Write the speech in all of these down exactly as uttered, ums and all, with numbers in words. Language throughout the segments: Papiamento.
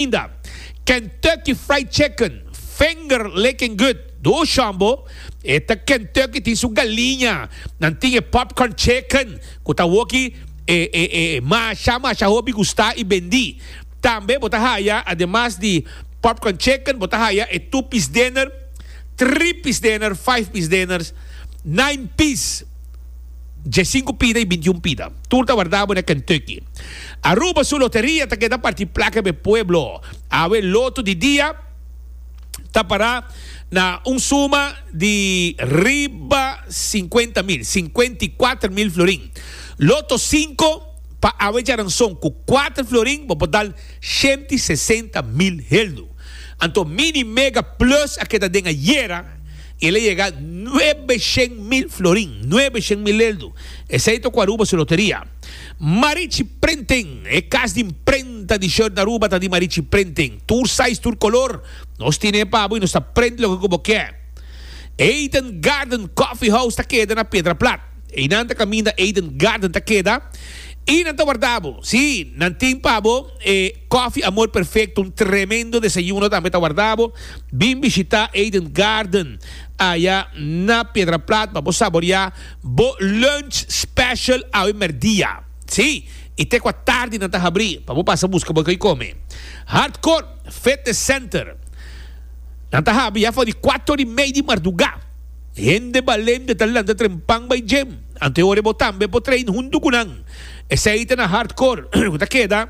Inda. Kentucky Fried Chicken, finger licking good. Do shambo. E ta Kentucky tin su galiña. Nan tin e popcorn chicken. Ku ta woki e, e, e, masha masha hopi gusta i bendi. Tambe bo ta haya, ademas di popcorn chicken, bo ta haya e two piece dinner, three piece dinner, five piece dinners, nine piece. Diescinco pida y bintiun pida. Tur ta warda bo na Kentucky. Aruba su loteria ta keda parti placa p'e pueblo. Awe loto di dia ta para na un suma di riba cincuenta mil, cincuenta y cuater mil florin. Loto cinco pa awe djaranson cu cuater florin bo por dal shenti sesenta mil heldu. Anto Mini Mega Plus a keda den ayera y el a yega nuebe shen mil florin, nuebe shen mil heldu. Esey ta cu Aruba su loteria. Marichi Printing, e cas di imprenta di shirt na Aruba ta di Marichi Printing. Tur size, tur color, nos tine pa bo y nos ta print loke cu bo kier. Eden Garden Coffee House ta keda na Piedra Plat. Einan ta caminda Eden Garden ta keda y nan ta warda bo. Sí, nan tin pa bo e Coffee Amor Perfecto, un tremendo desayuno tambe ta warda bo. Bin bishita Eden Garden aya na Piedra Plat pa bo saborea bo lunch special awe merdia. Sí, y te cu a tardi nan ta habri pa bo pasa busca bo coy come. Hardcore Fitness Center nan ta habri ya for di cuater y mei di marduga. Hende balente ta lanta trempan bai gym. Anto e ora bo tambe por train huntu cu nan. Esey ta na Hardcore cu ta keda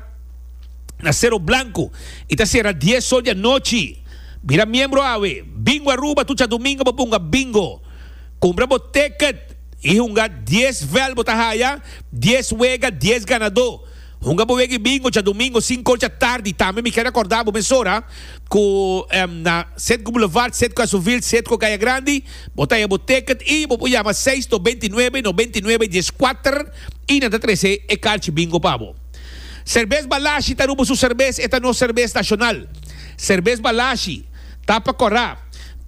na Cero Blanco y ta cera dies or di anochi. Bira miembro awe. Bingo Aruba tur djadomingo bo punga bingo. Cumpra bo ticket y hunga dies vel bo ta haya dies wega dies ganador. Hunga bo wega y bingo djadomingo cinco or dja tardi. Tambe mi kier acorda bo mesora cu na Citgo Boulevard, Citgo Azovil, Citgo Caya Grandi bo ta haya bo ticket y bo por yama seis nobenta i nuebe, nobenta i nuebe, dies kuater y nan ta trece e carchi bingo pa bo. Cerbes Balashi ta Aruba su cerbes, e ta nos cerbes nacional. Cerbes Balashi ta pa cora.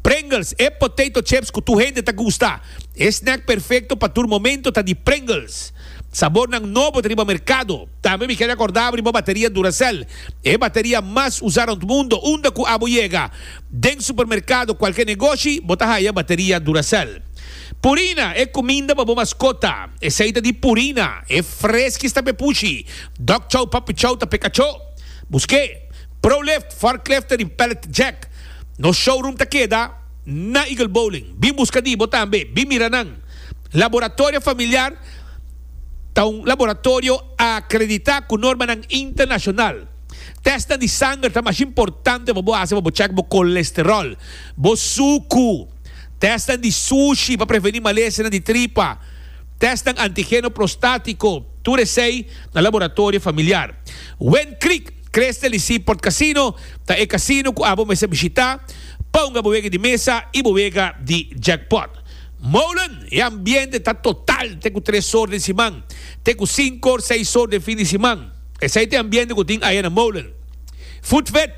Pringles, e potato chips cu tur hende ta gusta. E snack perfecto pa tur momento ta di Pringles. Sabornan nobo ta riba mercado. Tambe mi kere acorda bo riba bateria Duracell, e bateria mas usa rond mundo. Unda cu abo yega, den supermercado, cualke negoshi, bo ta haya bateria Duracell. Purina, e cuminda pa bo mascota. Esey ta di Purina. E freskis ta p'e pushi. Dog chow, puppy chow ta p'e cacho. Busque Prolift, forklifter y pallet jack. Nos showroom ta keda na Eagle Bowling. Bin busca di bo tambe. Bin mira nan. Laboratorio Familiar ta un laboratorio acredita cu normanan internacional. Testnan di sanger ta masha importante pa bo haci pa bo check bo colesterol, bo sucu, testnan di sushi pa preveni malesanan di tripa, testnan antigeno prostatico, tur esey na Laboratorio Familiar. Wind Creek, Crystal y Seaport Casino ta e casino cu abo mester bishita pa hunga bo wega di mesa y bo wega di jackpot. Molen, e ambiente ta total te cu tres or den siman, te cu cinco or, seis or den fin di siman. Esey ta e ambiente cu tin aya na Molen. Footfit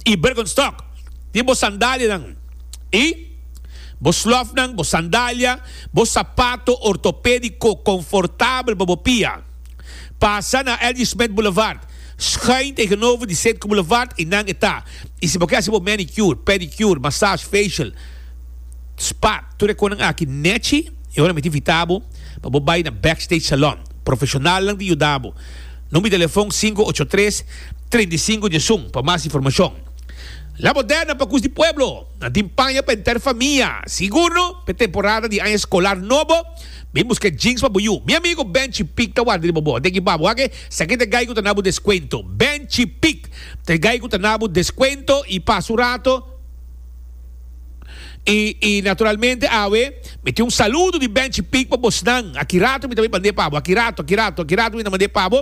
y Birkenstock tin bo sandalianan y bo slofnan, bo sandalia, bo sapato ortopedico confortabel pa bo pia. Pasa na L G. Smith Boulevard, schuin tegenover di Citgo Boulevard y nan e ta. Y si bo ke haci bo manicure, pedicure, massage, facial, spa, tur e konan aki nechi, e ora mi ta invita bo pa bo bai na Backstage Salon. Profesionalnan ta yuda bo. Number di telefon sinku ocho tres, trinta i sinku diesun pa mas informacion. La Moderna pa kus di pueblo. Nan tin paña pa henter famia. Sigur no, p'e temporada di aña escolar nobo, bin busca jeans pa bo yu. Mi amigo Benchi Pick ta warda riba bo. Deki pa bo wak e, esaki ta e gai cu ta na bo descuento. Benchi Pick ta e gai cu ta na bo descuento y pasa un rato. Y, y naturalmente awe mi tin un saludo di Benchi Pick pa bosnan. Aki rato mi ta bay mand'é pa bo. Aki rato, aki rato, aki rato mi ta mand'é pa bo.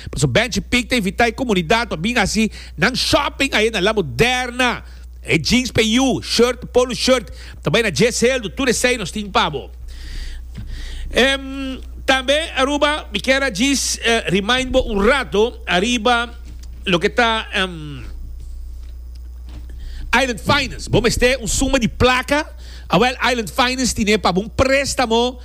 Pasobra Benchi Pick ta invita e comunidad pa bin haci nan shopping aye na La Moderna. E jeans pa e yu, shirt, polo shirt, ta bay na djes heldu. Tur esey nos tin pa bo. Em, tambe Aruba, mi kier a djis remind bo un rato ariba loke ta, em, Island Finance. Bo mester un suma di placa? Awel, Island Finance tine pa bo un prestamo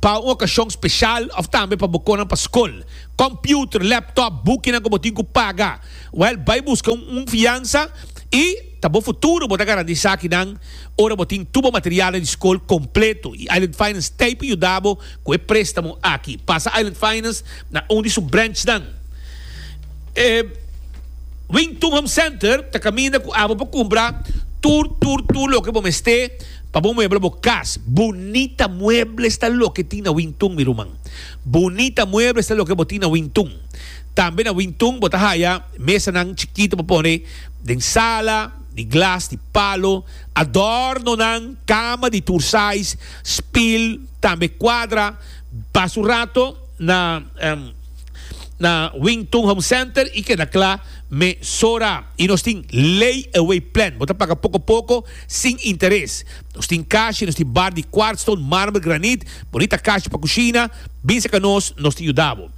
Pa un okashon speshal òf tambe pa bo konan pa skol. Kòmpiuter, laptop, bukinan ku bo tin ku paga. Wèl, bai buska un fiansa i ta bo futuro bo ta garantisá akinan ora bo tin tur bo materialnan di skol kompleto. I Island Finance t'ei pa yuda bo ku e préstamo aki. Pasa Island Finance na un di su branchnan. E Wingtun Home Center ta kaminda ku abo por kumpra tur tur tur loke bo mester pa bo muebla bo kas. Bunita muebles ta loke tin na Wingtun mi ruman. Bunita muebles ta loke bo tin na Wingtun. Tambe na Wingtun bo ta haya mesanan chikito pa pone den sala, di glas, di palo, adornonan, kama di tur size, spil, tambe kuadra. Pasa un rato na. Na Wington Home Center y keda cla mesora. Y nos tin lay away plan. Bo ta paga poco poco sin interes. Nos tin cashi, nos tin bar di quartzstone, marmer, granit, bonita cashi pa cushina. Bin cerca nos, nos ta yuda bo.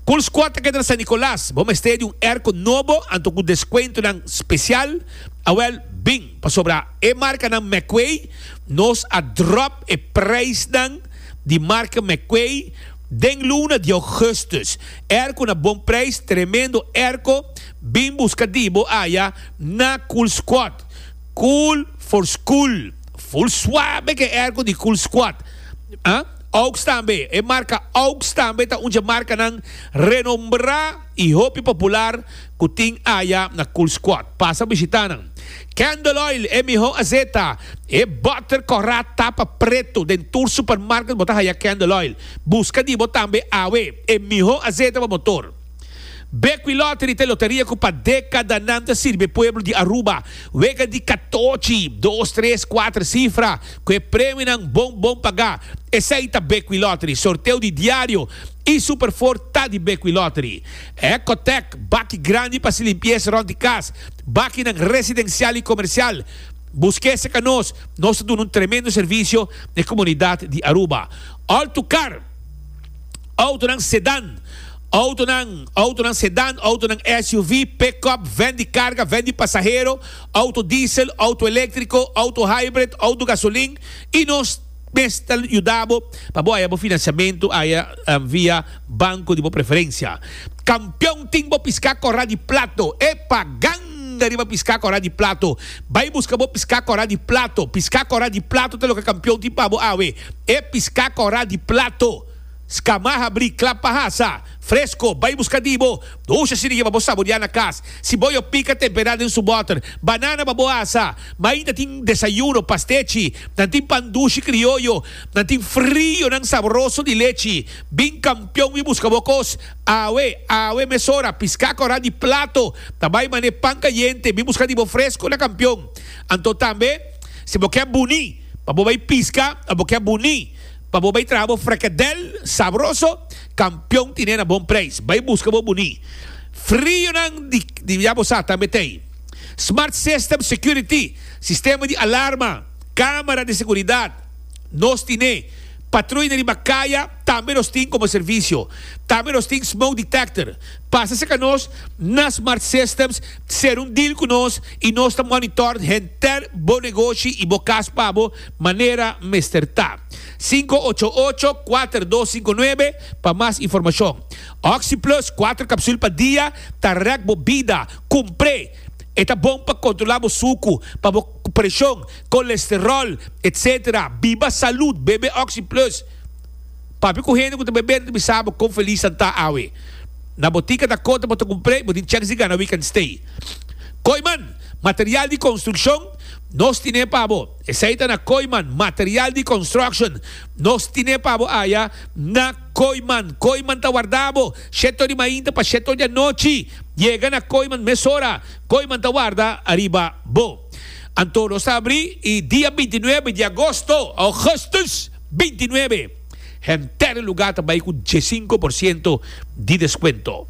Cool Squad ta keda na San Nicolas. Bo mester di un airco nobo anto cu descuentonan special? Awel, bin. Pasobra e marcanan McQuay nos a drop e prijsnan di marca McQuay. Den luna di augustus. Airco na bon prijs, tremendo airco, bin busca di bo aya na Cool Squad. Cool for school. Full suave ke airco di Cool Squad. Ah, Aux tambe, e marca Aux tambe ta un dje marcanan renombra y hopi popular cu tin aya na Cool Squad. Pasa bishita nan. Candle Oil, e miho azeta. E boter kora tapa preto. Den tur supermarket bo ta haya Candle Oil. Buska di bo tambe awe. E miho azeta pa motor. Bequi Lottery ta e loteria ku pa dekadanan ta sirbi e pueblo di Aruba. Wega di katochi, dos, tres, kuater sifra ku e premionan bon bon pagá. Esei ta Bequi Lottery. Sorteo di diario y Super Four ta di Bequi Lottery. Ecotec, baki grandi pa hasi limpiesa rond di cas, bakinan residencial y comercial. Busca esaki a nos, nos ta duna un tremendo servicio na e comunidad di Aruba. All to Car, autonan sedan, autonan, autonan sedan, autonan S U V, pick-up, van di carga, van di pasahero, auto diesel, auto electrico, auto hybrid, auto gasolin y nos mes ta yuda bo pa bo haya bo financiamento aya via banco di bo preferencia. Campeon tin bo pisca cora di plato. Epa ganga riba pisca cora di plato. Bay busca bo pisca cora di plato. Pisca cora di plato ta loke Campeon tin pa bo awe. E pisca cora di plato. Scama habri, cla pa hasa. Fresco, bay busca di bo. Dusha si riba bo saborea na cas. Siboyo pica tempera den su boter. Banana pa bo asa. Mainta tin desayuno, pastechi. Nan tin pan dushi crioyo. Nan tin frionan sabroso di lechi. Bin Campeon y busca bo cos. Awe, awe mesora, pisca cora di plato. Ta bay mane pan cayente. Bin busca di bo fresco na Campeon. Anto tambe, si bo kier buni, pa bo bay pisca, bo kier buni. Pa bo bay traha bo frikadel sabroso, Campeon tine na bon prijs. Bay busca bo buni. Frionan di, di ya bo sa tambe t'ey. Smart System Security, sistema di alarma, camera di seguridad, nos tine. Patruya riba caya, tambe nos tin como servicio. Tambe nos tin smoke detector. Pasa cerca nos na Smart Systems, cera un deal cu nos y nos ta monitor henter bo negoshi y bo cas pa bo manera mester ta. Sinku ocho ocho, kuater dos sinku nuebe pa mas informacion. OxyPlus, kuater capsul pa dia, ta rek bo bida. Cumpre! E ta bon pa controla bo sucu, pa bo presion, colesterol, etc. Biba salud, bebe OxyPlus. Papia cu hende cu ta bebe ta bisa bo con feliz nan ta awe. Na botica Dakota bo ta cumpre, bo tin chance di gana weekend stay. Kooyman, material di construccion, nos tine pa bo. Esey ta na Kooyman, material di construction, nos tine pa bo aya na Kooyman. Kooyman ta warda bo shete or di mainta pa shete or di anochi. Yega na Kooyman mesora. Kooyman ta warda ariba bo. Anto nos ta abri y dia binti nuebe di agosto, augustus binti nuebe, henter e lugar ta bay cu diesinco por ciento di descuento.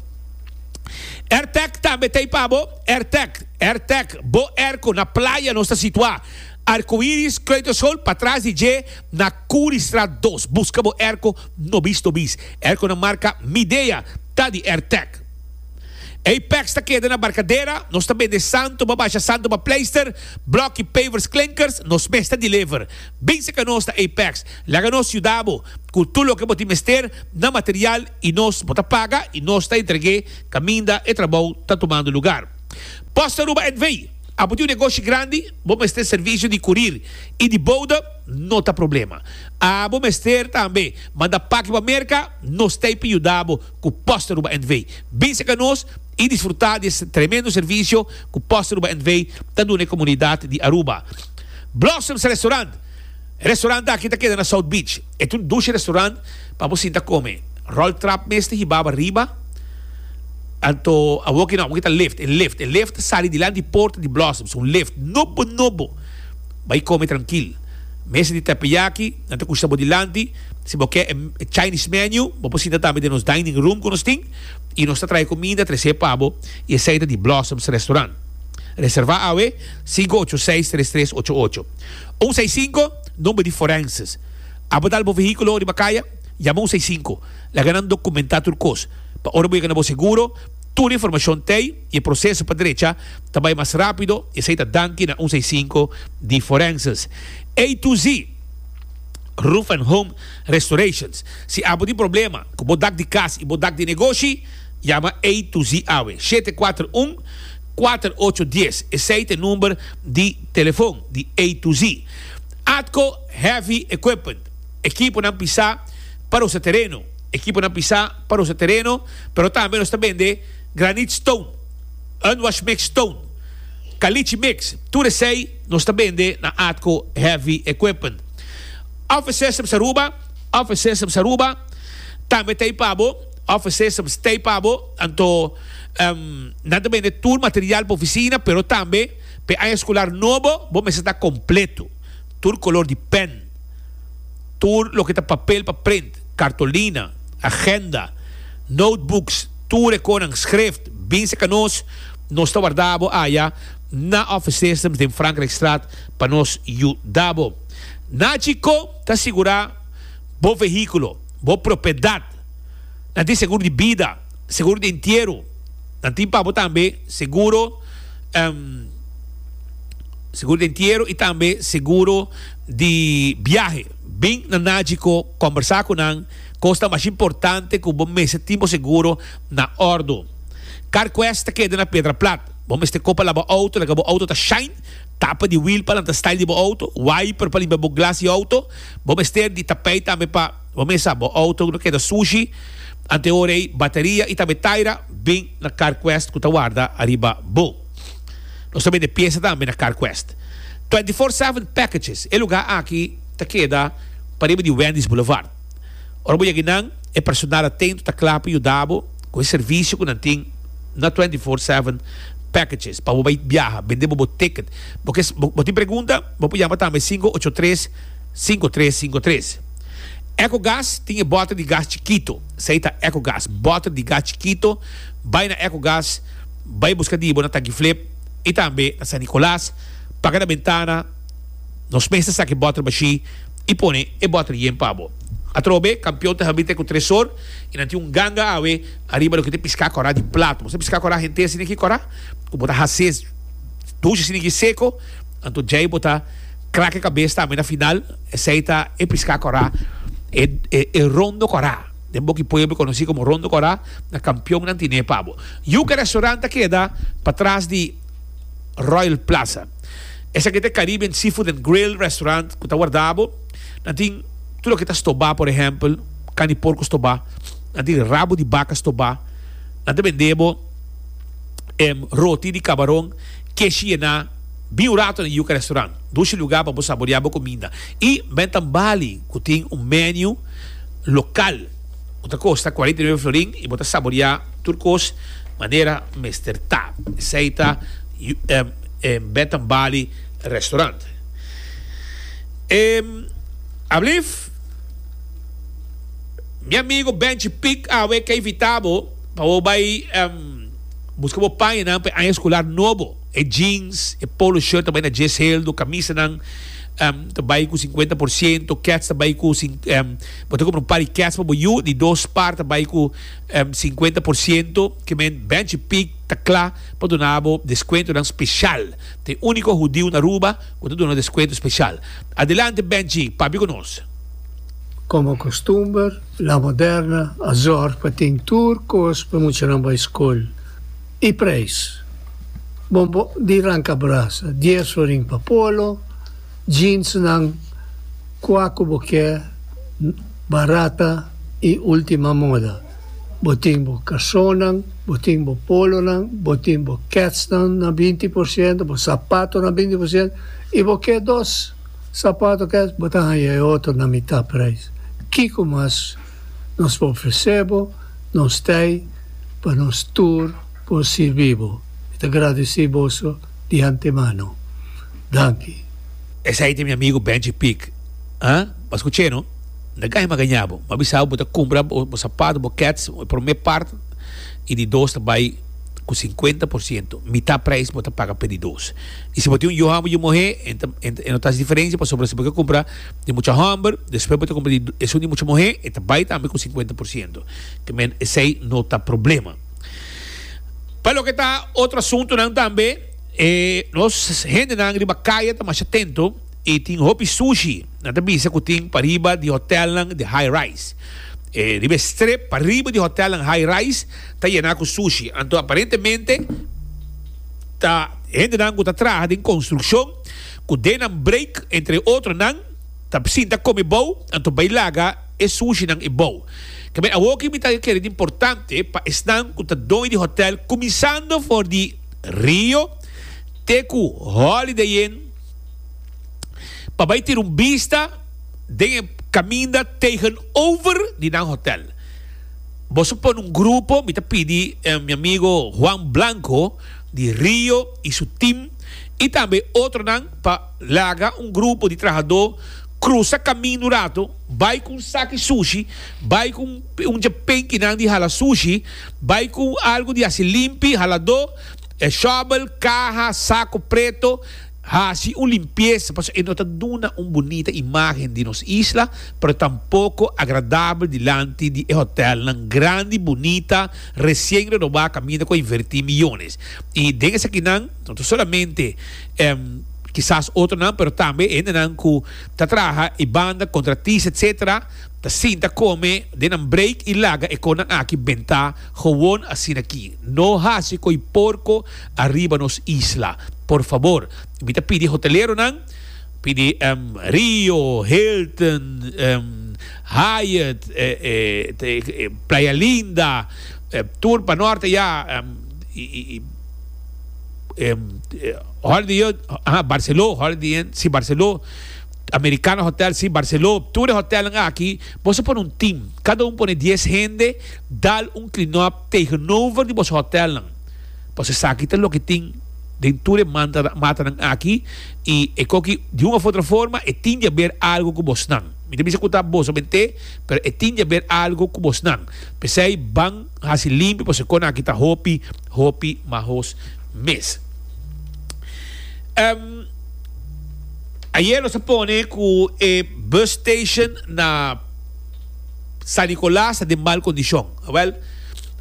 Airtec tambe ta ei pa bo. Airtec, Airtec, bo airco na playa nos ta situa. Arcoiris Kleuterschool patras di dje na Curiestraat dos. Busca bo airco nobis nobis. Airco na marca Midea ta di Airtec. Apex ta keda na Barcadera, nos ta bende santo pa basha, santo pa pleister, bloki, pavers, klinkers, nos mes ta deliver. Bin serka nos na Apex, laga nos yuda bo ku tur loke bo tin mester na material i nos bo ta paga i nos ta entreg'é kaminda e trabou ta tumando lugar. Post Aruba N V. Abo tin un negoshi grandi, bo mester servisio di kurir i di bode, no ta problema. Abo mester tambe manda paki pa Merka, nos t'ei pa yuda bo ku Post Aruba N V. Bin serka nos i disfrutá di e tremendo servisio ku Post Aruba N V ta duna e komunidat di Aruba. Blossoms Restaurant. Restaurant aki ta keda na South Beach. E ta un dushi restaurant pa bo sinta kome. Roltrap mes ta hiba bo ariba. Anto awoki no, awoki ta lift, e lift, e lift ta sali dilanti porta di Blossoms, un lift nobo nobo. Bai kome trankil. Mesa di teppanyaki, nan ta kushta bo dilanti. Si bo ke e Chinese menu, bo por sinta tambe den nos dining room ku nos tin i nos ta trae kuminda trese pa bo i esei ta di Blossoms Restaurant. Reserva awe, sinku ocho seis tres tres ocho ocho. Un seis sinku, number di forenses. Abo dal bo vehíkulo riba kaya? Yama un seis sinku. Laga nan dokumentá tur kos. Pa ora bo yega na bo seguro, tur informashon t'ei i e proseso pa drecha ta bai mas rápido. Esei ta danki na un seis sinku di forenses. A to Z Roof and Home Restorations. Si abo tin problema ku bo dak di kas i bo dak di negoshi, yama A to Z awe. Shete kuater un, kuater ocho dies. Esei ta e number di telefon di A to Z. Atco Heavy Equipment. Ekiponan pisá pa rosa tereno. Ekiponan pisá pa rosa tereno, pero tambe nos ta bende granite stone, unwash mix stone, caliche mix, tur esei nos ta bende na Atco Heavy Equipment. Office Systems Aruba, Office Systems Aruba tambe t'ei pa bo, Office Systems t'ei pa bo, anto nan ta bende tur material pa oficina, pero tambe p'e aña escolar nobo bo mester ta completo, tur color di pen, Tur loke ta papel pa print, kartolina, agenda, notebooks, tur e konan, schrift, bin seka nos, nos ta warda bo aya na Office Systems den Frankrijkstraat pa nos yuda bo. Nachi Co ta sigura bo vehíkulo, bo propiedat. Nan tin seguro di bida, seguro di entiero, nan tin pa bo tambe seguro. Seguro di entiero y tambe seguro di biahe. Bin na Nagico combersa cu nan. Cos ta mas importante cu bo mester tin bo seguro na ordo. Carquest ta keda na Piedra Plat. Bo mester copa laba auto, laga bo auto ta shine, tapa di wiel pa lanta style di bo auto, wiper pa limpia bo glas di auto. Bo mester di tapijt tambe pa bo mesa bo auto no keda sushi. Ante ora ey bateria y tambe taira bin na Carquest cu ta warda ariba bo. Nos ta bende piesa tambe na Carquest. Twenty four seven Packages, e lugá aki ta keda pariba di Wendy's Boulevard. Ora bo yega einan, e personal atento ta kla pa yuda bo ku e servisio ku nan tin na Twenty four seven Packages pa bo bai biaha, bende bo bo ticket. Bo ke bo tin pregunta, bo por yama tambe sinku ocho tres, sinku tres sinku tres. Ecogas tin e bòter di gas chikito. Esei ta Ecogas, bòter di gas chikito. Bai na Ecogas, bai buska di bo na Tankiflip i tambe na San Nicolas. Paga na bentana, nos mes ta saka e bòter bashí i pone e bòter yen pa bo. Atrobe, kampion ta habita ku tres or i nan tin un ganga awe ariba loke ta piská kòrá di plato. Bo sa piská kòrá henter asina ki kòrá ku bo ta hasi dushi asina ki seko, anto djei bo ta krak e kabes tambe na final. Esei ta e piská kòrá, e e rondo kòrá. Den boki pueblo konosí komo rondo kòrá, na kampionnan tine pa bo. Yuca Restaurant ta keda patras di Royal Plaza. Esaki ta e Caribbean Seafood and Grill Restaurant ku ta warda bo. Nan tin tur loke ta stobá, por ehèmpel, kani porko stobá, nan tin rabo di baka stobá, nan ta bende bo roti di kabaron, keshi yená. Bin un rato na Yuca Restaurant, dushi lugá pa bo saboreá bo kuminda. I Bentan Bali ku tin un menu lokal ku ta kosta kuarenta i nuebe florin i bo ta saboreá tur kos manera mester ta. Esei ta Bentan Bali Restaurant. Ablif, mi amigo Benchi Pick awe ke invitá bo pa bo bai buska bo pañanan pa e aña eskolar nobo. E jeans, e polo shirt ta bai na djes heldo, kamisanan um, ta bai ku sinkuenta por siento, kèts ta bai ku um, bo ta kumpra un par di kèts pa bo yu, di dos par ta bai ku um, sinkuenta por siento, ke men Benchi Pik ta kla pa duna bo deskuentonan speshal. Ta e úniko hudiu na Aruba ku ta duna deskuento speshal. Adelante Benchi, papia ku nos. Komo kustumber, La Moderna a zòrg pa tin tur kos pa muchanan bai skol i preis. Bombo di ranka brasa, dies florin pa polo, jeansnan, kua ku bo ke, barata i ultima moda. Bo tin bo karsonnan, bo tin bo polonan, bo tin bo kètsnan na binti por siento, bo sapato na binti por siento i bo ke dos sapato kèts, bo ta haña e otro na mitá preis. Kiko mas nos por ofresé bo? Nos t'ei pa nos tur por sirbi bo. Mi ta gradisí boso di antemano. Danki. Esei ta mi amigo Benji Pick. Ah, bo a skuch'é no? No gaña mi a gaña bo. Mi a bisa bo, bo ta kumpra bo sapato, bo kèts, e promé part i di dos ta bai ku sinkuenta por siento. Mitá preis bo ta paga p'e di dos. I si bo tin un yu hòmber i yu muhé, e no ta hasi diferensia pasobra si bo ke kumpra di mucha hòmber, despues bo ta kumpra di esun di mucha muhé, e ta bai tambe ku sinkuenta por siento. Te men esei no ta problema. Pa loke ta otro asuntunan tambe, e nos hendenan riba kaya ta masha atento i tin hopi sushi. Nan ta bisa ku tin pariba di hotelnan di high rise. E riba e strip pariba di hotelnan high rise ta yená ku sushi. Anto aparentemente ta hendenan ku ta traha den konstrukshon ku den nan break entre otronan ta sinta kome bou anto bai laga e sushinan e bou. Kemey awoki mi ta kere di importante pa esnan ku ta doño di hotel kuminsando for di Rio te ku Holiday Inn pa bai tira un bista den e kaminda tegenover di nan hotel. Boso pone un grupo, mi ta pidi mi amigo Juan Blanco di Rio y su team y tambe otronan pa laga un grupo di trahadó cruza kaminda un rato, bai cu un saki sushi, bai cu un dje penkinan di hala sushi, bai cu algo di haci limpi, haladó, shovel, caha, saco preto. Hasi un limpiesa pasobra e no ta duna un bunita imagen di nos isla, pero tampoco agradabel dilanti di e hotelnan grandi, bunita, recien renobá caminda cu a inverti miyones. Y den esakinan no ta solamente kisas otronan, pero tambe hendenan cu ta traha e banda, contratista etcetera, ta sinta come den nan break y laga e conan aki benta gewoon asinaki. No hasi coy porco ariba nos isla. Por fabor, mi ta pidi hoteleronan, pidi Rio, Hilton, Hyatt, Playa Linda, tur pa norte ya, y Holiday Inn, aha, Barceló, Holiday Inn, si Barceló, Americana Hotel, si Barceló, tur e hotelnan aki, boso pone un team, cada un pone dies hende, dal un clean up tegenover di boso hotelnan. Pasobra esaki ta loke tin den tur e matanan aki y e koki di un of otro forma e tin di haber algo cu bosnan. Mi ta bisa cu ta boso mente, pero e tin di haber algo cu bosnan. P'esey ban haci limpi pasobra e konan aki ta hopi, hopi mahos mes. Um, ayer nos a pone cu e bus station na San Nicolas ta den mal condicion. Awel,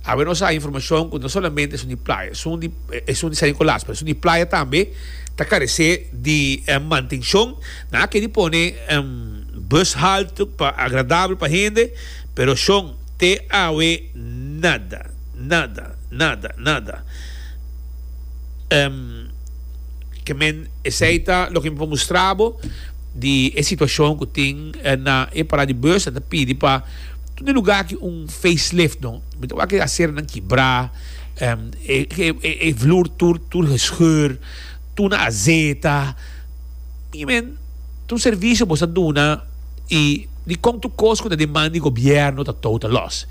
awe nos a haya informacion cu no solamente esun di playa, esun di, esun di San Nicolas, pero esun di playa tambe ta carece di mantencion. Nan a keri pone bus halte pa agradabel pa hende, pero shon te awe nada, nada, nada, nada. Ke men esei ta loke mi por mustra bo di e situacion cu tin na e parada di bus. Nan ta pidi pa tur di lugar aki un facelift no. Mi ta wak e aceranan kibra, e vloer tur tur gescheur, tur na azeta. Mi men tur servicio bo sa duna y dicon tur cos cu ta den man di gobierno ta total loss.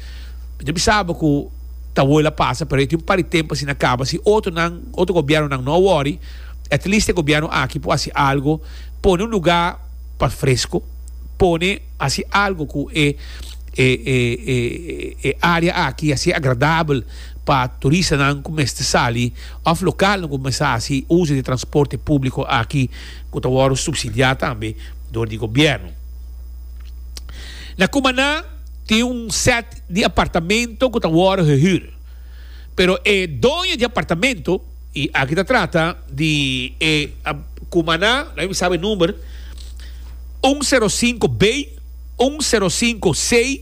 Mi ta bisa bo cu ta wou el a pasa pero e tin un par di tempo asina caba si otronan otro gobiernonan no a worry at least e gobierno aki por haci algo pone un lugar pa fresco pone haci algo cu e e e e area aki haci agradabel pa turistanan ku mester sali òf lokalnan ku mester hasi uso di transporte públiko aki ku ta wòrdu supsidiá tambe dor di gobièrnu. Na Cumaná tin un sèt di apartamento ku ta wòrdu gehür, pero e doño di apartamento, i aki ta trata di e Cumaná, laga mi sabi e number, un sero sinku B, un sero sinku C,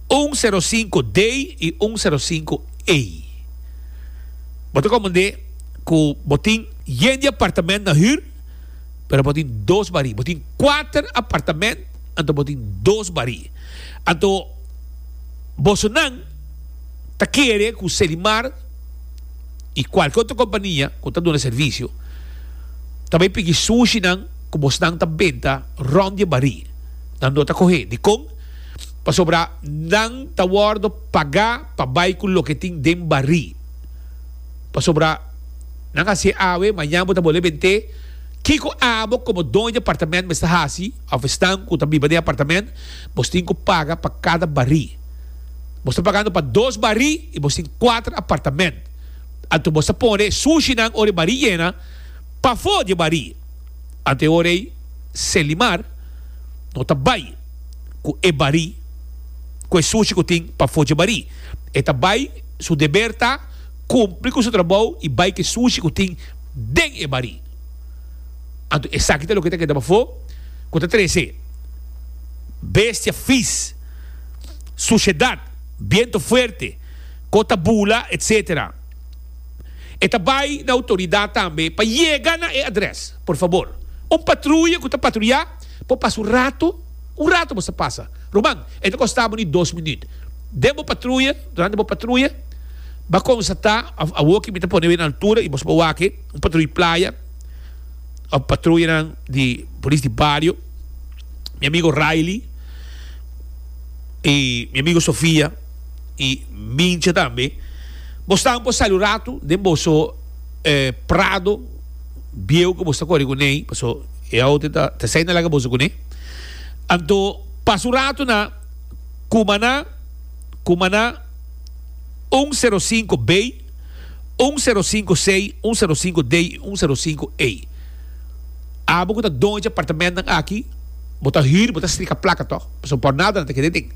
un sero sinku D i un sero sinku E. Bo ta komprendé ku bo tin yen di apartament na hür, pero bo tin dos barí. Bo tin kuater apartament, anto bo tin dos barí. Anto bosonan ta kere ku Selimar i kualke otro kompania ku ta duna servisio ta bai piki sushinan ku bosnan ta benta rònt di e barí. Nan no ta kohé. Dikon? Pasobra nan ta wòrdu pagá pa bai ku loke tin den barí. Pasobra nan hasié awe, mañan bo ta bolbe bent'é. Kiko abo komo doño di apartamènt mester hasi, òf esnan ku ta biba den apartamènt? Bos tin ku paga pa kada barí. Bos ta pagando pa dos barí i bos tin kuater apartamènt. Anto bos ta pone sushinan ora e barí yena pafó di e barí. Anto e ora ei Selimar no ta bai ku e barí, ku e sushi ku tin pafó dje barí. E ta bai, su deber ta kumpli ku su trabou i bai ku e sushi ku tin den e barí. Anto esaki ta loke ta keda pafó ku ta trese bestia fis, sushedat, biento fuerte, ko ta bula, etsetera. E ta bai na outoridat tambe pa yega na e adrès. Por fabor, un patruya ku ta patruyá por pasa un ratu, un ratu bo sa pasa. Ruman, e ta kosta bo ni dos minüt. Den bo patruya, durante bo patruya, bo a konstatá, òf awor ki mi ta pone bo na altura i bo por wak e, un patruya playa òf patruyanan di polis di bario, mi amigo Riley i mi amigo Sofia i Mincha tambe, bo stan por sali un ratu den boso Prado bieu ku boso ta kore kuné, paso e auto ta ta esei nan laga boso kuné. Anto pasa un ratu na Cumaná, Cumaná un sero sinku B, un sero sinku C, un sero sinku D i un sero sinku E. Abo ku ta doño dje apartamentnan aki, bo ta hür, bo ta strika plaka tòg, pasobra por nada nan ta keda den.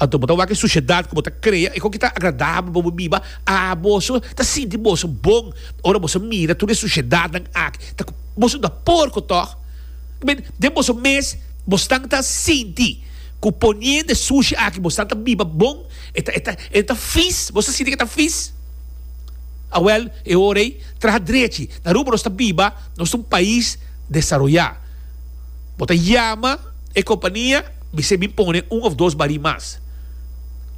Anto bo ta wak e sushedat ku bo ta krea, e koki ta agradabel pa bo biba. A boso ta sinti boso bon ora boso mira tur e sushedatnan aki. Ta ku boso ta porko tòg? Men, den boso mes bosnan ta sinti ku poniendo e sushi aki bosnan ta biba bon? E ta, e ta, e ta fis? Boso ta sinti ku e ta fis? Awèl, e ora ei, traha drechi. Na Aruba nos ta biba, nos ta un pais desaroyá. Bo ta yama e kompania, bis'é bin pone un òf dos barí mas.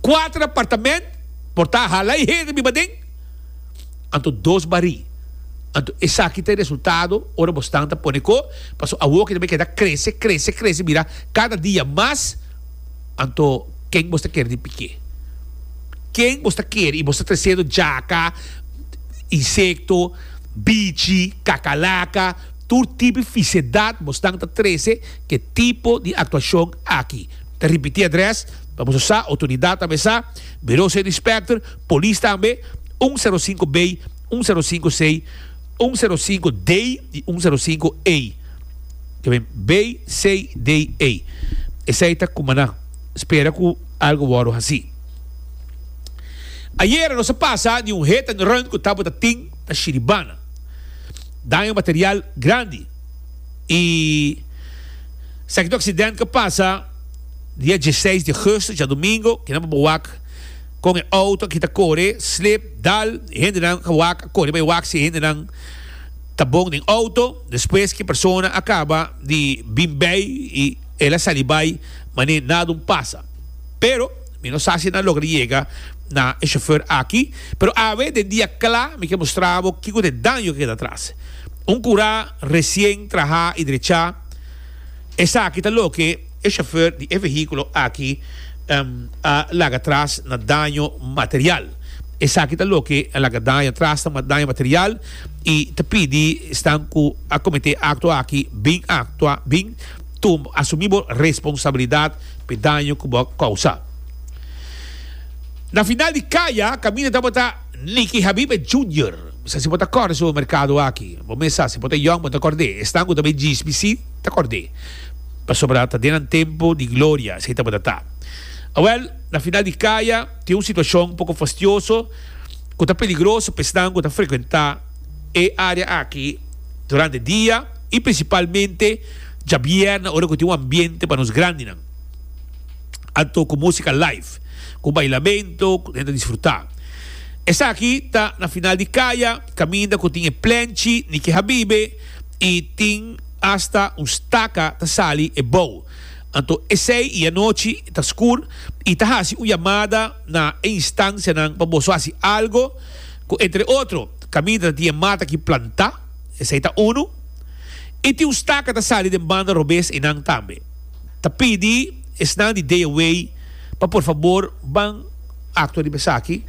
Kuater apartament por ta hala e hende biba den, anto dos barí. Anto esaki ta e resultado ora bo stan ta pone ko, pasobra awor ki ta bay keda krese, krese, krese bira kada dia mas, anto ken bo sta kere di pik'é? Ken bo sta kere? I bo sta tresiendo djaka, insekto, bichi, kakalaka, tur tipo di fisedat bo stan ta trese ke tipo di aktuashon aki. Ta ripití adrès pa boso sa, outoridat tambe sa, Bureau State Inspector, polis tambe, un sero sinku B, un sero sinku C, un sero sinku D i un sero sinku E. Ke ben B, C, D, E. Esei ta kuma nan spera ku algu wòrdu hasí. Ayera nos a pasa di un hit and run ku tabata tin na Shiribana. Daño material grandi i esaki ta un aksident ku a pasa dia dieseis di augustus, djadumingo, kinan pa bo wak kon e outo aki ta kore, slip, dal, e hendenan a wak a kore bai wak si e hendenan ta bon den outo, despues ki e persona a kaba di bin bei i el a sali bai manera nada un pasa. Pero mi no sa si nan logra yega na e shofer aki, pero awe den dia kla mi ke mustra bo kiko ta e daño ku keda atras. Un kurá resien trahá i drechá, esaki ta loke e shofer di e vehíkulo aki a laga atras na daño material. Esaki ta loke a laga daño atras na daño material i ta pidi esnan ku a kometé e akto aki bin aktua, bin tuma, asumí bo responsabilidat pa e daño ku bo a kousa. Na final di kaya, kaminda tabata Nicky Habibe Junior Sa si bo ta kòrda e supermerkado aki. Bo mes sa, si bo ta yòn bo ta kòrd'é. Esnan ku ta bai djispi si ta kòrd'é. Pasobra ta den nan tempu di gloria esei tabata ta. Awèl, na final di kaya tin un situashon poko fastioso ku ta peligroso pa esnan ku ta frekuentá e área aki durante dia i prinsipalmente djabièrnè ora ku tin un ambiente pa nos grandinan. Anto ku músika live, ku bailamento, ku hende ta disfrutá. Esaki ta na final di kaya, kaminda ku tin e plenchi Niki Habibe i tin asta un staka ta sali e bou. Anto esei i anochi ta skur i ta hasi un yamada na e instansianan pa boso hasi algo ku entre otro kaminda ta tin e mata ki plantá, esei ta unu, i tin un staka ta sali den banda robes einan tambe. Ta pidi esnan di Day Away pa por fabor ban actua riba esaki,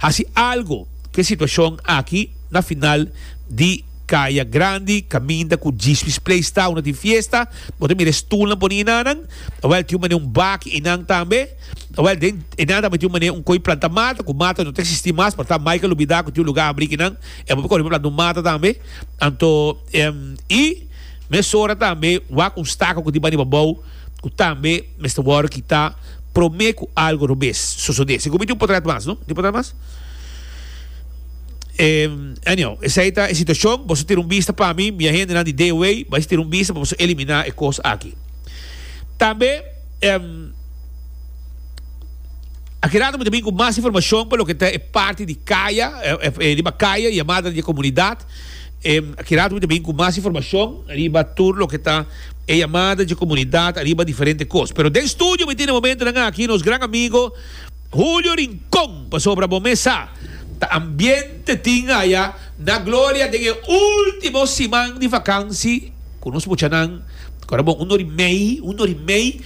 haci algo cu e situacion aki na final di Caya Grandi caminda cu Djispi's Place ta unda tin fiesta, bo ta mira e stoelnan poni enanan, awel tin un manera un baki enan tambe, awel den enan tambe tin un manera un coi planta mata, cu mata no ta existi mas, por ta Michael lubida cu tin un lugar habri kinan, e bo por core pa planta un mata tambe, anto y mesora tambe wak un staka cu tin bani pabou. Ku tambe mester wòrdu kitá promé ku algu robes sosodé. Segun mi tin un potret mas, no? Tin potret mas? Anyhow, esei ta e situashon. Boso tira un bista pa mi, mi agentenan di D O A, bai tira un bista pa boso eliminá e kos aki. Tambe, aki rato mi ta bin ku mas informashon pa loke ta e parti di kaya, riba kaya, yamada di e komunidat. Aki rato mi ta bin ku mas informashon riba tur loke ta e yamada dje komunidat ariba diferente kos. Pero den studio mi tin e momentonan aki nos gran amigo Julio Rincon pasobra bo mes sa ta ambiente tin aya na Gloria den e ultimo siman di vakansi ku nos muchanan. Kora bon un ora i mei, un ora i mei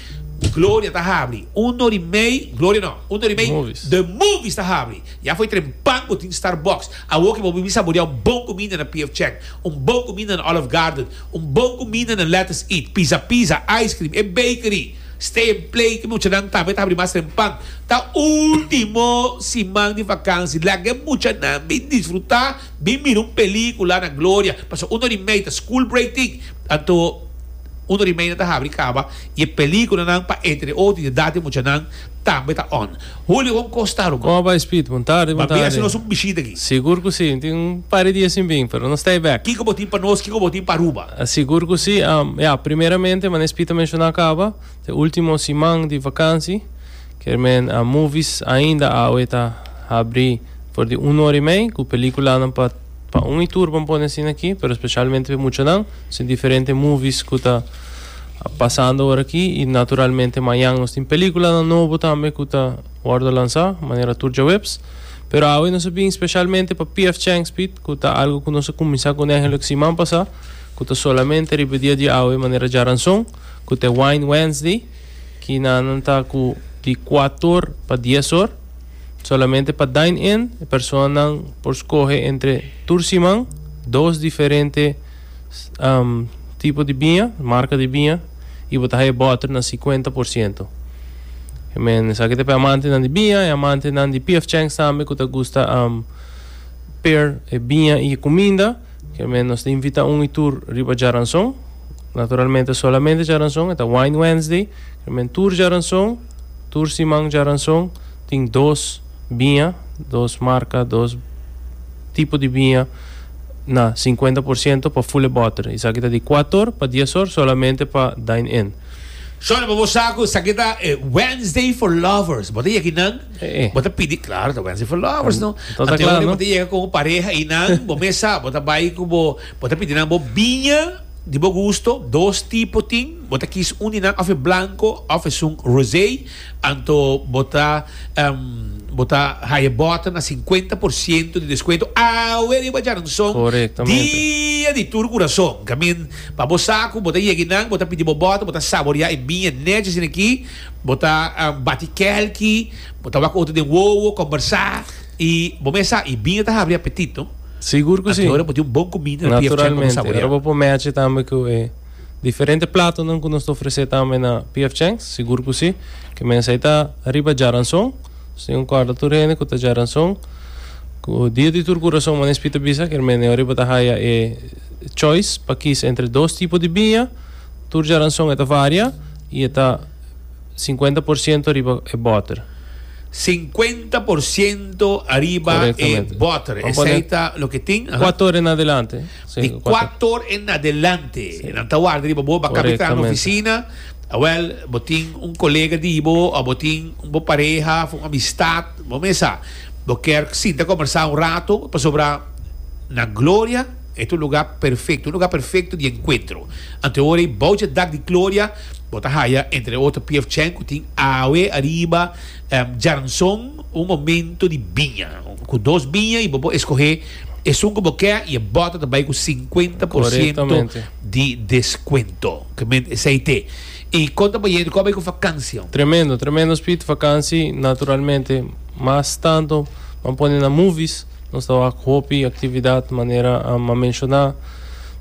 Gloria ta habri, un ora i mei Gloria no, un ora i mei The Movies ta habri. Ya foi trempan bo tin Starbucks. Awor ke bo bibi saborea un bon kuminda na P F Chang, un bon kuminda na Olive Garden, un bon kuminda na Let Us Eat, Pizza Pizza, Ice Cream, e bakery, Stay and Play, ke muchanan tambe ta habri mas trempan. Ta ultimo siman di vakansi, laga e muchanan bin disfruta, bin mira un pelicula na Gloria, pasobra un ora i mei ta school break tin, anto un ora i mei nan ta habri kaba i e peliculanan pa entre otro di edat di muchanan tambe ta on. Julio, kon kos ta ruman? Kon a bai Speed? Bon tardi, bon Ban bin tardi. hasi nos un bishita aki. Sigur ku si, tin un par di dia sin bin, pero nos ta ei bek. Kiko bo tin pa nos, kiko bo tin pa Aruba? Sigur ku si. Ya, primeramente, manera Speed a menshoná kaba, ta e ultimo siman di vakansi, kier men movies ainda awe ta habri for di un ora i mei ku pelikulanan pa pa un i tur ban pone asina aki, pero specialmente pa e muchanan. Sin diferente movies ku ta pasando ora aki i naturalmente mañan nos tin peliculanan nobo tambe ku ta wordo lansa manera tur djaweps. Pero awe nos a bin specialmente pa P F Chang's Pit ku ta algo ku nos a kuminsa ku eigenlijk siman pasa ku ta solamente riba e dia di awe manera djaranson ku ta e Wine Wednesday ki nan ta ku di kuator pa dies or. Solamente pa dine in e personanan por scoge entre tur siman dos diferente tipo di biña, marca di biña y bo ta haya boter na cincuenta por ciento. Men esaki ta pa e amantenan di biña, e amantenan di P F Chang's tambe cu ta gusta pair e biña y e cuminda. Men nos ta invita un y tur riba djaranson. Naturalmente solamente djaranson, e ta Wine Wednesday. Men tur djaranson, tur siman djaranson. Tin dos biña, dos marca, dos tipo di biña na cincuenta por ciento pa full e boter. Esaki ta di cuator pa dies or solamente pa dine in. Shona, pa bo sa cu esaki ta e Wednesday for lovers. Bo ta yega einan, bo ta pidi, claro ta Wednesday for lovers no. Anto ta cla no. Bo ta yega cu bo pareha einan, bo mes sa, bo ta bay cu bo, bo ta pidi nan bo biña di bo gusto, dos tipo tin, bo ta kies un di nan of e blanco of esun rosé. Anto bo ta bo ta haya bòter na sinkuenta por siento di deskuento awe riba djaranson dia di tur kurason. Kamin pa bo sa ku bo ta yega einan bo ta pidi bo bòter bo ta saboreá e biña nechi asina aki bo ta bati kèlki bo ta wak otro den wowo kòmbersá i bo mes sa i biña ta habri apetit no. Sigur ku si. Anto ora bo tin un bon kuminda na P F Chang pa bo saboreá. Naturalmente ora bo por mèchi tambe ku e. Diferente platonan ku nos ta ofresé tambe na P F Chang's, sigur ku si. Ke mensai ta riba djaranson, Tin corda tur hende cu ta diaranson. Cu dia di tur curason, manera Speed ta bisa, kiermen ora bo ta haya e choice pa kies entre dos tipo di biña. Tur diaranson ta varia y ta cincuenta por ciento riba e boter. cincuenta por ciento ariba e Correctamente. boter. Vamos Esey pone ta loke tin. Aha. cuater or en adelante. Si, Di cuater. cuater or en adelante. Nan ta warda riba bo, baka na Correctamente. oficina. Wel, bo tin un colega di bo, of bo tin un bo pareha, un amistad, bo mesa. Bo kier sinta combersa un rato, pasobra na Gloria, e ta un lugar perfecto, un lugar perfecto di encuentro. Anto ora, bou di dak di Gloria, bo ta haya, entre otro, P F Chang, cu tin awe ariba, um, diaranson, un momento di biña. Cu dos biña y bo por scoge esun cu bo kier y boter tambe cu cincuenta por ciento Correctamente. di descuento. Kiermen esey ta. Y con ta bayendo, con ta bay cu vakantie? Tremendo, tremendo, Speed. Vakantie, naturalmente, mas tanto, ban pone na movies, nos ta hopi actividad, manera a menciona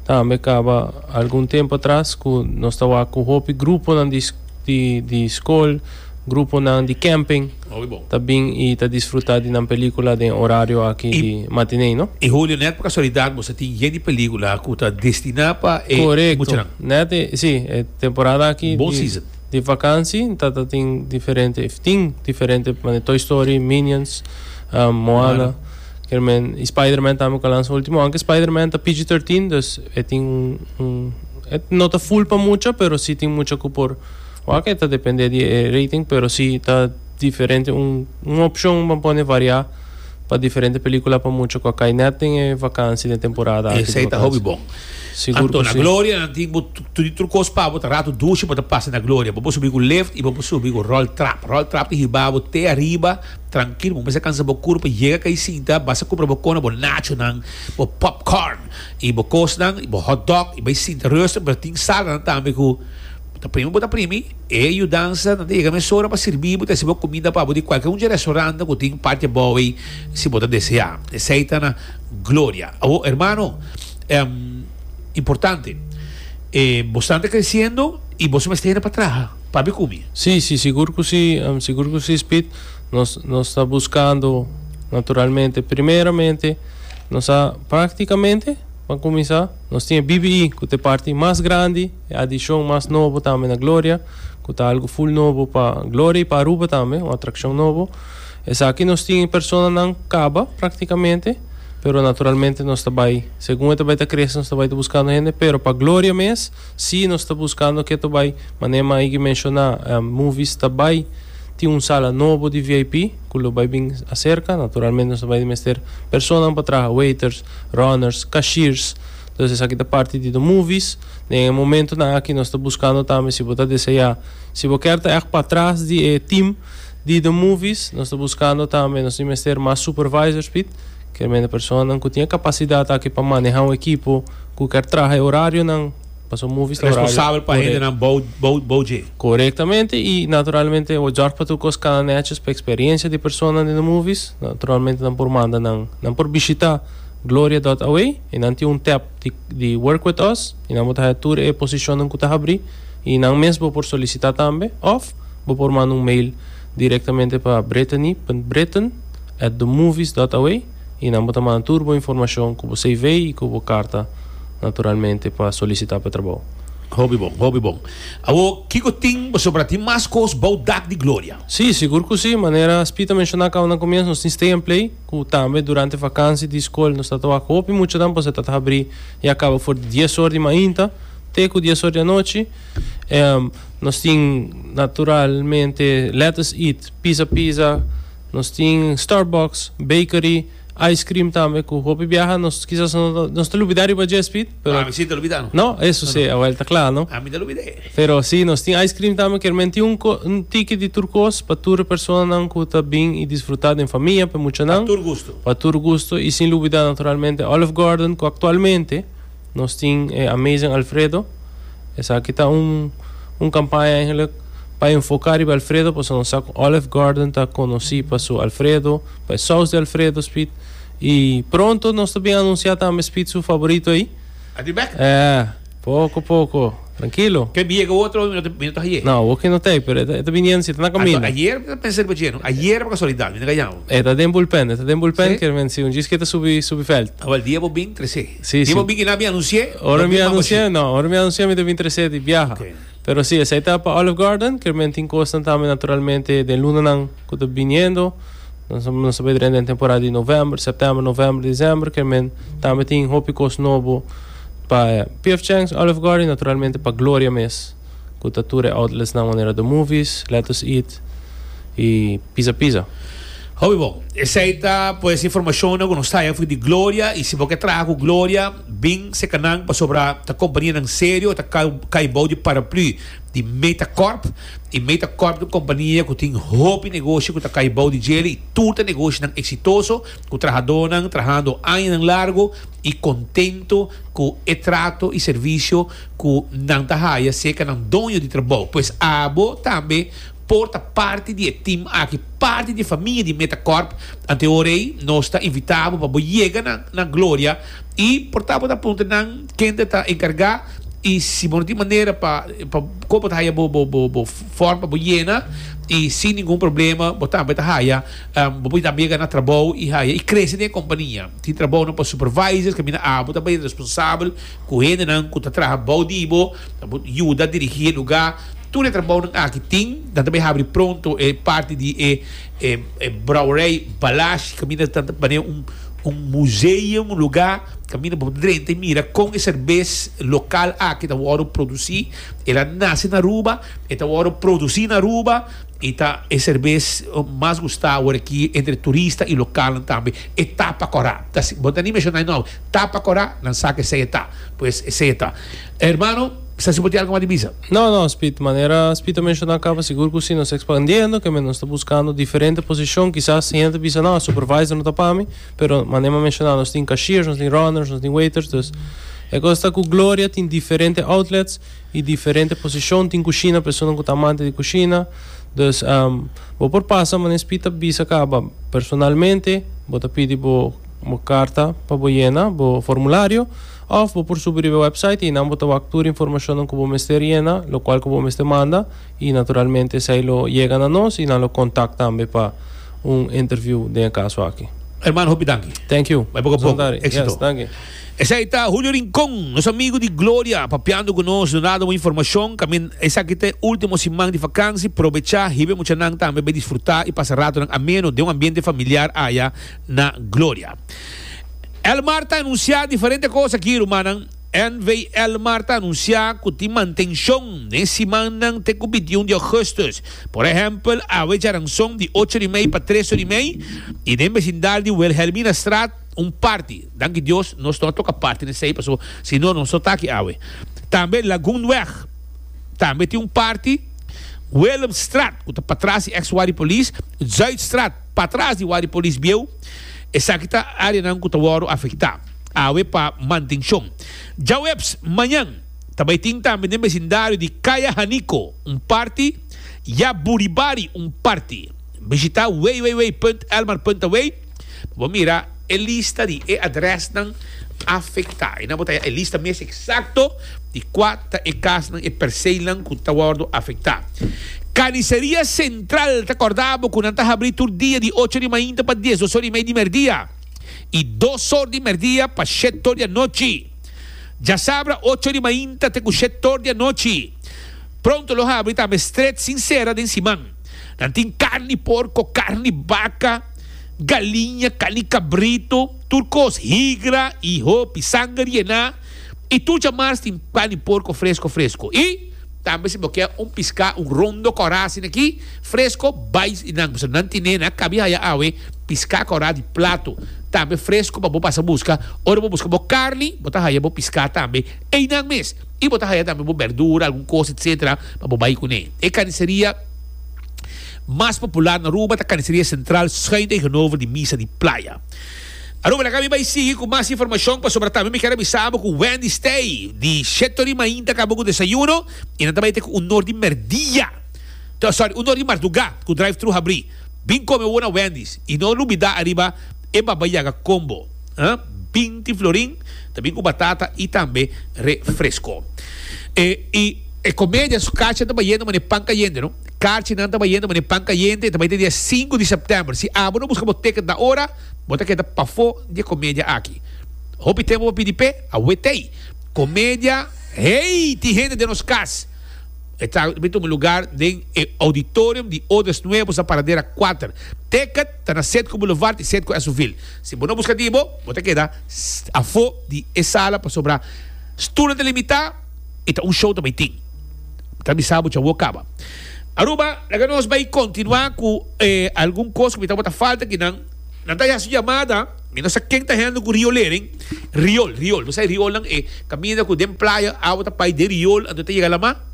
tambe caba algun tempo atras, cu nos ta cu hopi grupo nan di, di, di scol, grupo nan di camping, Hopi bon. Ta bin y ta disfruta di un pelicula den horario aki Y- di matinee, no? Y Julio, net pa casualidad, bo tin yen di pelicula cu ta destina pa eh, Correcto. muchanan. Net, eh, si, eh, temporada aki Bon di, season. Di vakantie, ta ta tin diferente, tin diferente, manera Toy Story, Minions, um, Moana, kiermen, y Spider-Man tambe cu a lansa ultimo, aunke Spider-Man ta P G trece, dus e tin un, un e no ta full pa mucha, pero si tin mucha cu por wak, ta depende di eh, rating, pero si ta diferente, un un opcion pa pone varia pa diferente pelicula pa mucha cu cay net den eh, vakantie di temporada aki di Esey ta vakantie. hopi bon. Sigur Anto, cu na si. Gloria, nan tin tur tur cos pa bo, rato dushi pa pasa na Gloria. Bo subi cu lift y bo subi cu roll trap. Roll trap ta hiba bo te ariba, trankil, bo mester cansa bo curpa, yega cay sinta, basta cumpra bo cona, bo nacho nan, bo popcorn, y bo cos nan, y bo hot dog, y bay sinta rustig, pero tin sala nan tambe cu ta primi bo ta primi, e yudansa, nan ta yega mesora pa sirbi bo, ta bo cuminda pa bo di cualkier un restaurant cu tin parti abou si bo ta desea. Esey ta na Gloria. Oh, hermano, um, importante. Eh, bo ta creciendo y bo mester pa traha, pa come. Si, si, sigur cu si, um, sigur cu si, Speed. Nos, nos ta buscando, naturalmente, primeramente, nos ta practicamente, pa cuminsa, nos tin B B E, cu ta e parti mas grandi, e adicion mas nobo tambe na Gloria, cu ta algo full nobo pa Gloria y pa Aruba tambe, un atraccion nobo. Esaki nos tin persona nan caba, practicamente, pero naturalmente nos ta bay, segun ta bay ta crece, nos ta bay buscando hende, pero pa Gloria mes, si nos ta buscando cu ta bay, manera mi a menciona, um, movies ta bay, tin un sala nobo di V I P, cu lo bay bin acerca, naturalmente nos bay mester persona pa traha, waiters, runners, cashiers. Anto, esaki ta parti di the movies. Na momento nan aki nos ta buscando tambe si bo ta desea, si bo kier ta echt patras di eh, team di the movies, nos ta buscando tambe, nos tin mester mas supervisors, Pit, kiermen persona cu tin capacidad aki pa maneha un ekipo, cu kier traha horario nan, paso movies ta horario. Responsabel pa Correcto. hende nan bou bou bou dje. Correctamente y naturalmente o zorg pa tur cos cana netjes pa experiencia di persona den movies, naturalmente nan por manda nan nan por bishita gloria punto A W y nan tin un tab di, di work with us y nan por tur e posicion cu ta habri y nan mes por solicita tambe of bo por manda un mail directamente pa brittany punto britton at themovies punto A W y nan por manda tur bo informacion cu bo C V y cu bo carta naturalmente pa solicita pa trabou. Hopi bon, hopi bon. Awo, kico tin, sobre tin mas cos bou dak di Gloria? Si, sigur cu si. Manera Speed a menciona caba na comienso, nos tin Stay and Play, cu tambe durante vakantie di scol, nos ta hopi mucho tempo, bo ta habri y caba for dies or di mainta, te cu dies or di anochi. Um, nos tin naturalmente Let Us Eat, Pizza Pizza, nos tin Starbucks, Bakery, ice cream tambe, cu hopi biaha, nos kisas no nos ta lubida riba dje, Speed, pero Ah, mi si ta lubida. No, eso si, awor ta cla, no? Ami ta lubida. Pero si, nos tin ice cream tambe, kiermen tin un, co- un ticket di tur cos pa tur persona cu ta bin y disfruta den famia, pa mucha nan. Tur gusto. Pa tur gusto y sin lubida naturalmente Olive Garden, cu actualmente nos tin eh, Amazing Alfredo. Esaki ta un un campaña eigenlijk pa enfoca riba Alfredo, pues nos sa Olive Garden ta conoci pa su Alfredo, pa e saus di Alfredo, Speed. Y pronto nos tambe a anuncia tambe Speed su favorito ey. Adi back? E, poco poco. Trankilo. Ke mi yega otro, mi no ta haye. No, awor no tin, pero e ta bini, si, ta na kaminda. Ayera mi pensa riba dje, no? Ayera pa kasualidat, mi no gaña. E ta den bullpen, e ta den bullpen, Si? ke men si un dies ku ta subi subi veld. Awor dia bo bin trese. Si, Dia si. bo bin ku mi anunsiá. Ora mi anunsiá, no, ora mi anunsiá mi ta bin trese di biaha. Ok. Pero si, esei ta pa Olive Garden, ke men tin kos tambe naturalmente den lunanan ku ta biniendo. Nos nos ta den temporada di novèmber, sèptèmber, novèmber, desèmber, ke men tambe tin hopi kos nobo pa P F. Chang's, Olive Garden, naturalmente pa Gloria mes. Ku ta tur outlets na manera The Movies, Let Us Eat i Pizza Pizza. Hopi bon. Esei ta pues informashon ku nos ta for di Gloria i si bo ke traha ku Gloria, bin serka nan pasobra ta kompanianan serio, ta kai bou di paraplu di Metacorp i Metacorp ta kompania ku tin hopi negoshi ku ta kai bou di dje i tur ta negoshinan eksitoso, ku trahadónan trahando añanan largu i kontentu ku e trato i servisio ku nan ta haya serka nan doño di trabou. Pues abo tambe por ta parti di e team aki, parti di famia di Metacorp. Anto ora nos ta invitá bo pa yega na, na Gloria i por ta bo puntra nan ken ta enkargá i si bo no tin manera pa pa kon ta haya bo bo bo bo form pa bo yena i sin ningun problema bo tambe ta haya um, bo por tambe yega na trabou i haya i krese den kompania. Tin trabou no pa supervisors ku mina abo tambe responsabel ku hendenan ku ta traha bou di bo, bo yuda dirigí lugá. Tur e trabou aki tin, dan tambe habri pronto e parti di e e, e brouwerij Balashi, kaminda ta un un museo, un lugá kaminda bo drenta i mira kon e serbes lokal aki ta wòrdu produsí. El a nase na Aruba, e ta wòrdu produsí na Aruba i ta e serbes mas gustá aki entre turista i lokal tambe. E Tapa Kòrá. Bo ta ni menshoná no. Tapa Kòrá, nan sa ku esei ta. Pues esei ta. Hermano, sa si bo tin algu mas di bisa? No, no, Speed, manera Speed menshoná kaba, sigur ku si nos ekspandiendo, ke nos ta buskando diferente posishon, kisas hende bisa no, supervisor no ta pa mi, pero manera menshoná, nos tin cashiers, nos tin runners, nos tin waiters, dus e kos ta ku Gloria tin diferente outlets i diferente posishon, tin kushina, persona ku ta amante di kushina, dus um, bo por pasa, manera Speed bisa kaba personalmente, bo ta pidi bo bo karta pa bo yena, bo formulario, òf bo por subi e website i nan bo ta tur informashon ku bo mester yena, lo kual ku bo mester manda i naturalmente esei lo yega na nos i nan lo kontaktá tambe pa un interview den kaso aki. Hermano, hopi danki. Thank you. Bai poko poko. Éksito. Yes, thank you. Esei ta Julio Rincón, nos amigu di Gloria, papiando ku nos, dunando un informashon. Kamin, esaki ta último siman di vakansi, probechá, hiba muchanan tambe pa disfrutá i pasa ratu ameno den un ambiente familiar aya na Gloria. Elmar ta anunsiá diferente kos aki, rumannan. N V Elmar ta anunsiá ku tin mantenshon den siman te ku bintiun di ougùstùs. Por ehèmpel, awe djárason di ocho i mei pa tres i mei i den besindario di Wilhelmina Straat un parti. Danki Dios, nos no a toka parti esei, paso si no nos ta aki awe. Tambe Lagoonweg. Tambe tin un parti Willemstraat, ku ta patras di ex-Wari Police, Zuidstraat, patras di Wari Police bieu. Esaki ta áreanan ku ta wòrdu afektá. Awe pa mantenshon. Djaweps, mañan, tambe tin tambe den besindario di Kaya Haniko, un parti, Jaburibari, un parti. Bishitá w w w punt elmar punt a w pa mira e lista di e adrèsnan afektá. I nan bo ta e lista mes eksakto di kua ta e kasnan e perseelnan ku ta wòrdu afektá. Carniceria Central ta kòrda bo ku nan ta habrí tur dia di ocho di mainta pa dies or i mei di mèrdia i dos or di mèrdia pa shete or di anochi. Djasabra ocho di mainta te ku shete or di anochi. Pronto lo habri tambe stret sin sera den siman. Nan tin karni porko, karni baka, galiña, karni kabritu, tur kos, higra i hopi, sanger yená. I tur djamars tin karni porko fresku fresku. I tambe si bo ke un piská, un rondo kòrá aki, fresku, bai nan, nan tin na kabi haya awe, piská kòrá di plato. Tambe fresku pa bo pasa buska, ora bo buska bo karni, bo ta haya bo piská tambe. Einan mes. I bo ta haya tambe bo berdura, algun kos, et cetera, pa bo bai kuné. E karniseria mas popular na Aruba, ta Carniceria Central, schuin tegenover di Misa di Playa. Aruba, laga mi bai sigui ku mas informashon pasobra tambe mi ke avisá ku Wendy's t'ei di shete or di mainta kaba ku desayuno i nan tambe ku un or di mèrdia. Sorry, un or di mardugá ku drive-thru habrí. Bin kome na Wendy's i no lubidá ariba e babayaga combo. Huh? binti florin, tambe ku batata i tambe refresko. E, y e comedia su kaarchi ta bayendo mane pan cayente, no? Kaarchinan ta bayendo mane pan cayente, ta bay dia sinku di september. Si abo no busca bo ticket na ora, bo ta keda pafo di e comedia aki. Hopi tempo pa pidi p'e, awe t'ey. Comedia, hey, tin hende den nos cas. E ta bay tuma lugar den e auditorium di Odes Nuevos na Paradera kuater. Ticket ta na Citgo Boulevard y Citgo Esoville. Si bo no busca di bo, bo ta keda afo di e sala pasobra stoelnan ta limita y ta un show ta bay tin. Ta bisa bo djawo caba. Aruba, laga nos bay continua cu e algun cos cu mi tabata falta kinan. Nan ta haci yamada, mi no sa ken ta hende cu riolering. Riol, riol, bo sa e riolnan e caminda cu den playa awa ta pai den riol anto ta yega lama.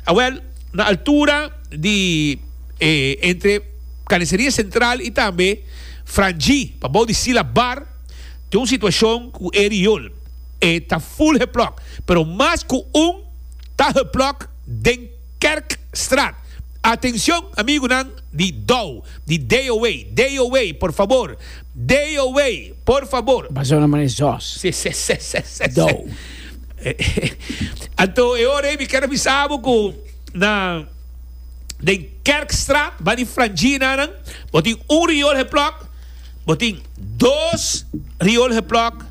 Awel, na altura di e entre Carniceria Central y tambe Frangie, pabou di Sila Bar, tin un situacion cu e riol. E ta full geplok, pero mas cu un ta geplok den Kerkstraat. Atencion amigunan di Dow, di D O A, D O A, por fabor, D O A, por fabor. Basó na manera zos. Si, si, si, si, si, si. Dow. Anto e ora ei mi kier a bisa bo cu na den Kerkstraat, ba di Franginanan, bo tin un riool geplok, bo tin dos riool geplok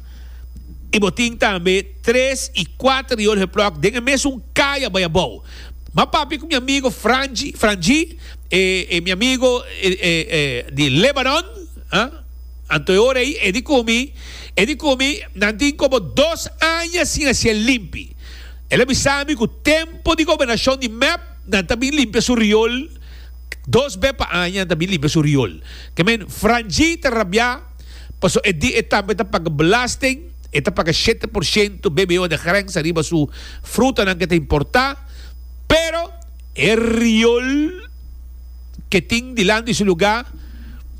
y bo tin tambe tres y kuater riool geplok den e mesun kaya bay abou. Ma papia cu mi amigo Frangi, Frangi, e, e mi amigo, e, e, e, di Lebanon, ah? Anto e ora ei, e di cu mi, e di cu mi, nan tin como dos aña sin hacié limpi. El a bisa mi cu tempo di gobernacion di M E P, nan ta bin limpia su riool, dos be pa aña nan ta bin limpia su riool. Ke men, Frangi ta rabia, paso e di e tambe ta paga belasting, e ta paga shete por ciento B B O de grens ariba su frutanan ke ta importa, pero e riool ke tin dilanti su lugar,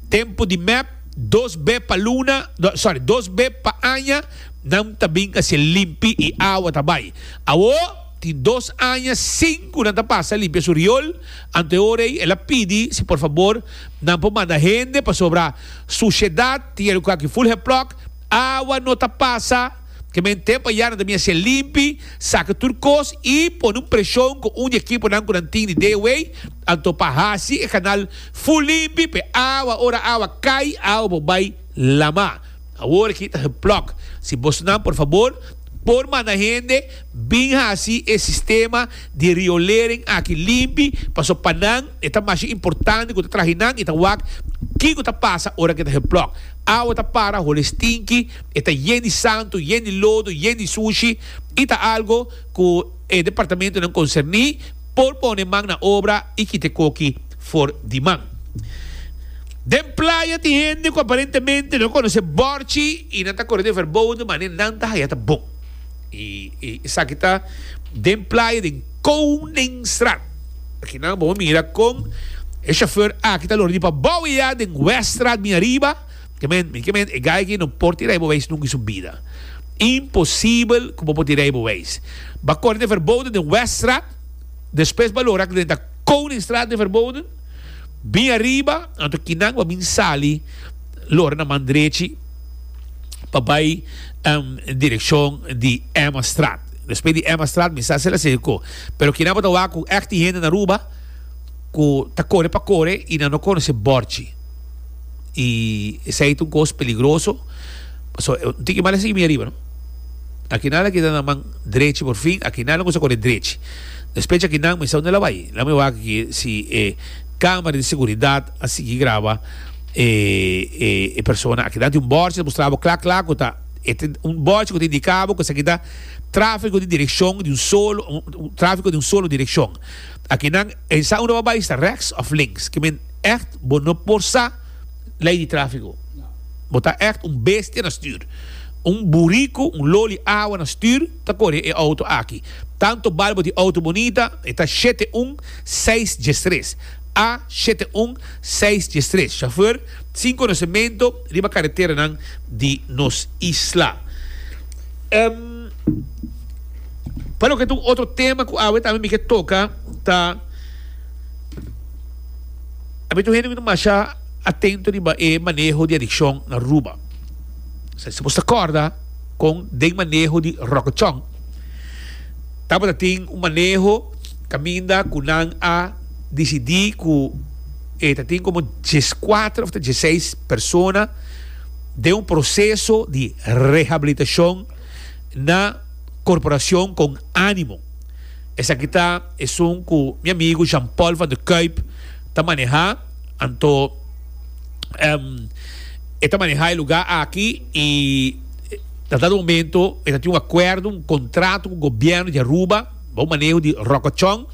tempo di M E P, dos be pa luna, do, sorry, dos be pa aña, nan ta bin hacia limpi y awa ta bay. Awo, tin dos aña, cinco nan ta pasa limpia su riool, ante ora ei, el a pidi, si por favor, nan por manda hende pasobra suciedad, tin el aki full geplok, awa no ta pasa, que men tempo ya nan ta bin hacia limpi, saca turcos y pone un presión con un equipo nan cu nan tin di D O A, anto pa hasi e canal full limpi, pe awa, ora awa cai, awa bo bay lama. Awor aquí ta geplok. Si bos nan, por favor, por manda hende, bin hasi e sistema di riolering aki limpi, paso pa nan, e ta mas importante ku ta traje nan, e ta wak, kiko ta pasa ora ke ta geplok. Awa ta para, hole stinky, e ta yen di santo, yen di lodo, yen di sushi, e ta algo ku e departamento nan concerni por pone man na obra y kite koki for di man. Den playa ti hende ku aparentemente no conoce borchi y nan ta corre de verboden, maar nan ta haya ta bon. Y, y esaki ta den playa den Koningstraat. Aquí nan bo mira con e chauffeur aki ta lordi pa bouw ya den Weststraat mi arriba. Que men, que men, e guy ki no por tira e bewijs nunca in su vida. Imposible como por tira e bewijs. Ba corre de verboden den Weststraat. Después ba lora den ta Koningstraat de verboden. Bin arriba, anto kinang ba bin sali lora na mandrechi pa bay, um, dirección di Emma Straat. Después di Emma Straat, mi sa se la seco. Pero kinang ba tawa ku echt die hende na Aruba, ku ta kore pa kore y na no conoce borchi. Y ese es un cos peligroso. So, un tiki mal así mi arriba, no? Aquí nada que na man derecho por fin, aquí nada cosa con el derecho. Después aquí nada me sa donde la vai. La me va aquí si, eh, cámara de seguridad así que graba, eh, eh, eh, persona aquí dante un borchi mostraba clac clac que ta este, un borchi que te indicaba que se quita tráfico de dirección de un solo, un, un tráfico de un solo dirección. Aquí nan esa uno va a estar rechts of links, que men echt bo no por sa ley de tráfico. Bo ta echt un bestia na stuur. Un burrico, un loli agua na stuur, ta corre e auto aqui. Tanto balbo de auto bonita, está siete un seis diez tres. A siete un seis diez tres. Chauffeur sin conocimiento, riba carretera nan di nos isla. Em, para lo que tu otro tema que awe también me que toca, ta a mí tu gente que masha atento riba e manejo de adicción na Aruba. O sea, se você acorda com den manejo de rocochón. Tabata tin un maneho kaminda ku nan a disidí ku e ta tin komo dieskuater òf ta diesseis persona den un proseso di rehabilitashon na Korporashon Kon Animo. Esaki ta esun ku mi amigu Jean Paul van der Kuyp ta manehá. Anto e ta manehá e lugá aki i na dado momento e ta tin un akuerdo, un kontrato ku gobièrnu di Aruba bou maneho di Rocco Chong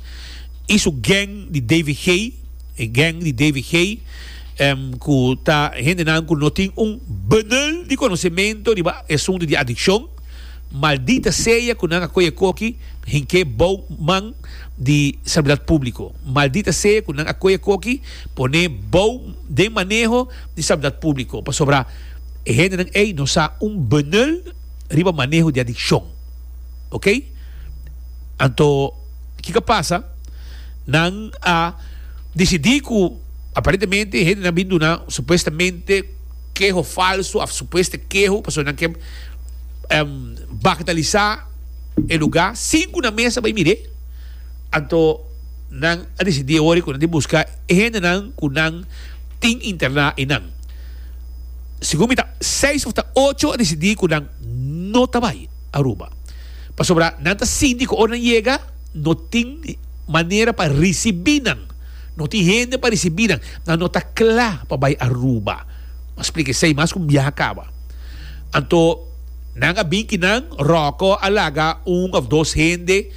i su gang di D V G, e gang di D V G ku ta hendenan ku no tin un benul di konosementu riba e asuntu di adikshon. Maldita sea ku nan a kohe koki hink'é bou man di Salubridad Públiko. Maldita sea ku nan a kohe koki pone bou den maneho di Salubridad Públiko. Pasobra e hendenan ei no sa un benul riba maneho di adikshon. Ok? Anto kiko a pasa? Nan a disidí ku aparentemente hendenan bin duna supuestamente keho falso òf supueste keho pasobra nan ke bagatelisá e lugá sin ku nan mes a bai mir'é. Anto nan a disidí e ora ku nan tin buska e hendenan ku nan tin interná einan. Segun mi ta seis òf ta ocho a disidí ku nan no ta bai Aruba pasobra nan ta sinti ku ora nan yega no tin manera pa risibí nan, no tin hende pa risibí nan, nan no ta kla pa bai Aruba. Mi a splika esei mas ku un biaha kaba. Anto nan a bin ki nan Rocco a laga un of dos hende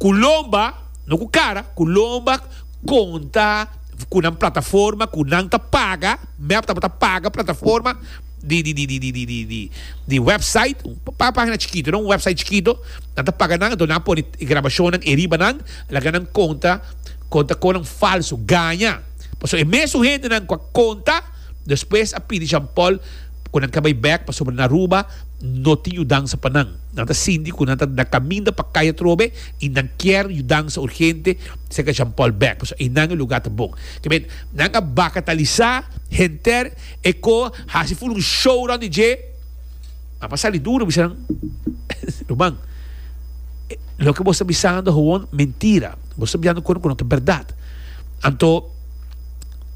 ku lomba, no ku kara, ku lomba konta ku nan plataforma ku nan ta paga, mep tabata paga plataforma di di di di di di di di di website, un pagina chikito, no un website chikito, nan ta paga nan, anto nan a pone e grabashonnan e riba nan, laga nan konta konta konan falso, gaña. Pasobra e mesun hendenan ku a konta despues a pidi Jean Paul ku nan ka bai bek pasobra na Aruba no tin yudansa pa nan. Nan ta sinti ku nan ta na kaminda pa kai atrobe i nan kier yudansa urgente serka Jean Paul bek pasobra einan e luga ta bon. Ke men nan a bakatalisa henter e ko hasi ful un show rond di dje. A pa sali duro bisa nan, Ruman, loke bo sta bisando howon mentira. Bo sta bisando kono ku no ta bèrdat. Anto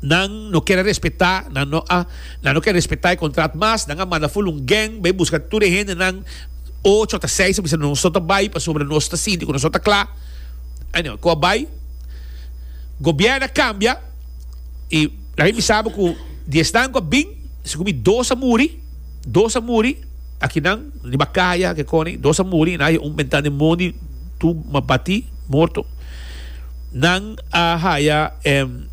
nan no kier a respetá, nan no a, nan no kier respetá e kontrat mas, nan a manda ful un gang bai buska tur e hendenan, ocho ata seis a bisa nos no ta bai pasobra nos ta sinti ku nos no ta kla. Anyway, ku a bai, gobièrnu a kambia i laga mi bisa bo ku di esnan ku a bin, segun mi dos a muri, dos a muri akinan riba kaya ke koni, dos a muri, nan a haya un bentana den mondi tur batí, morto. Nan a haya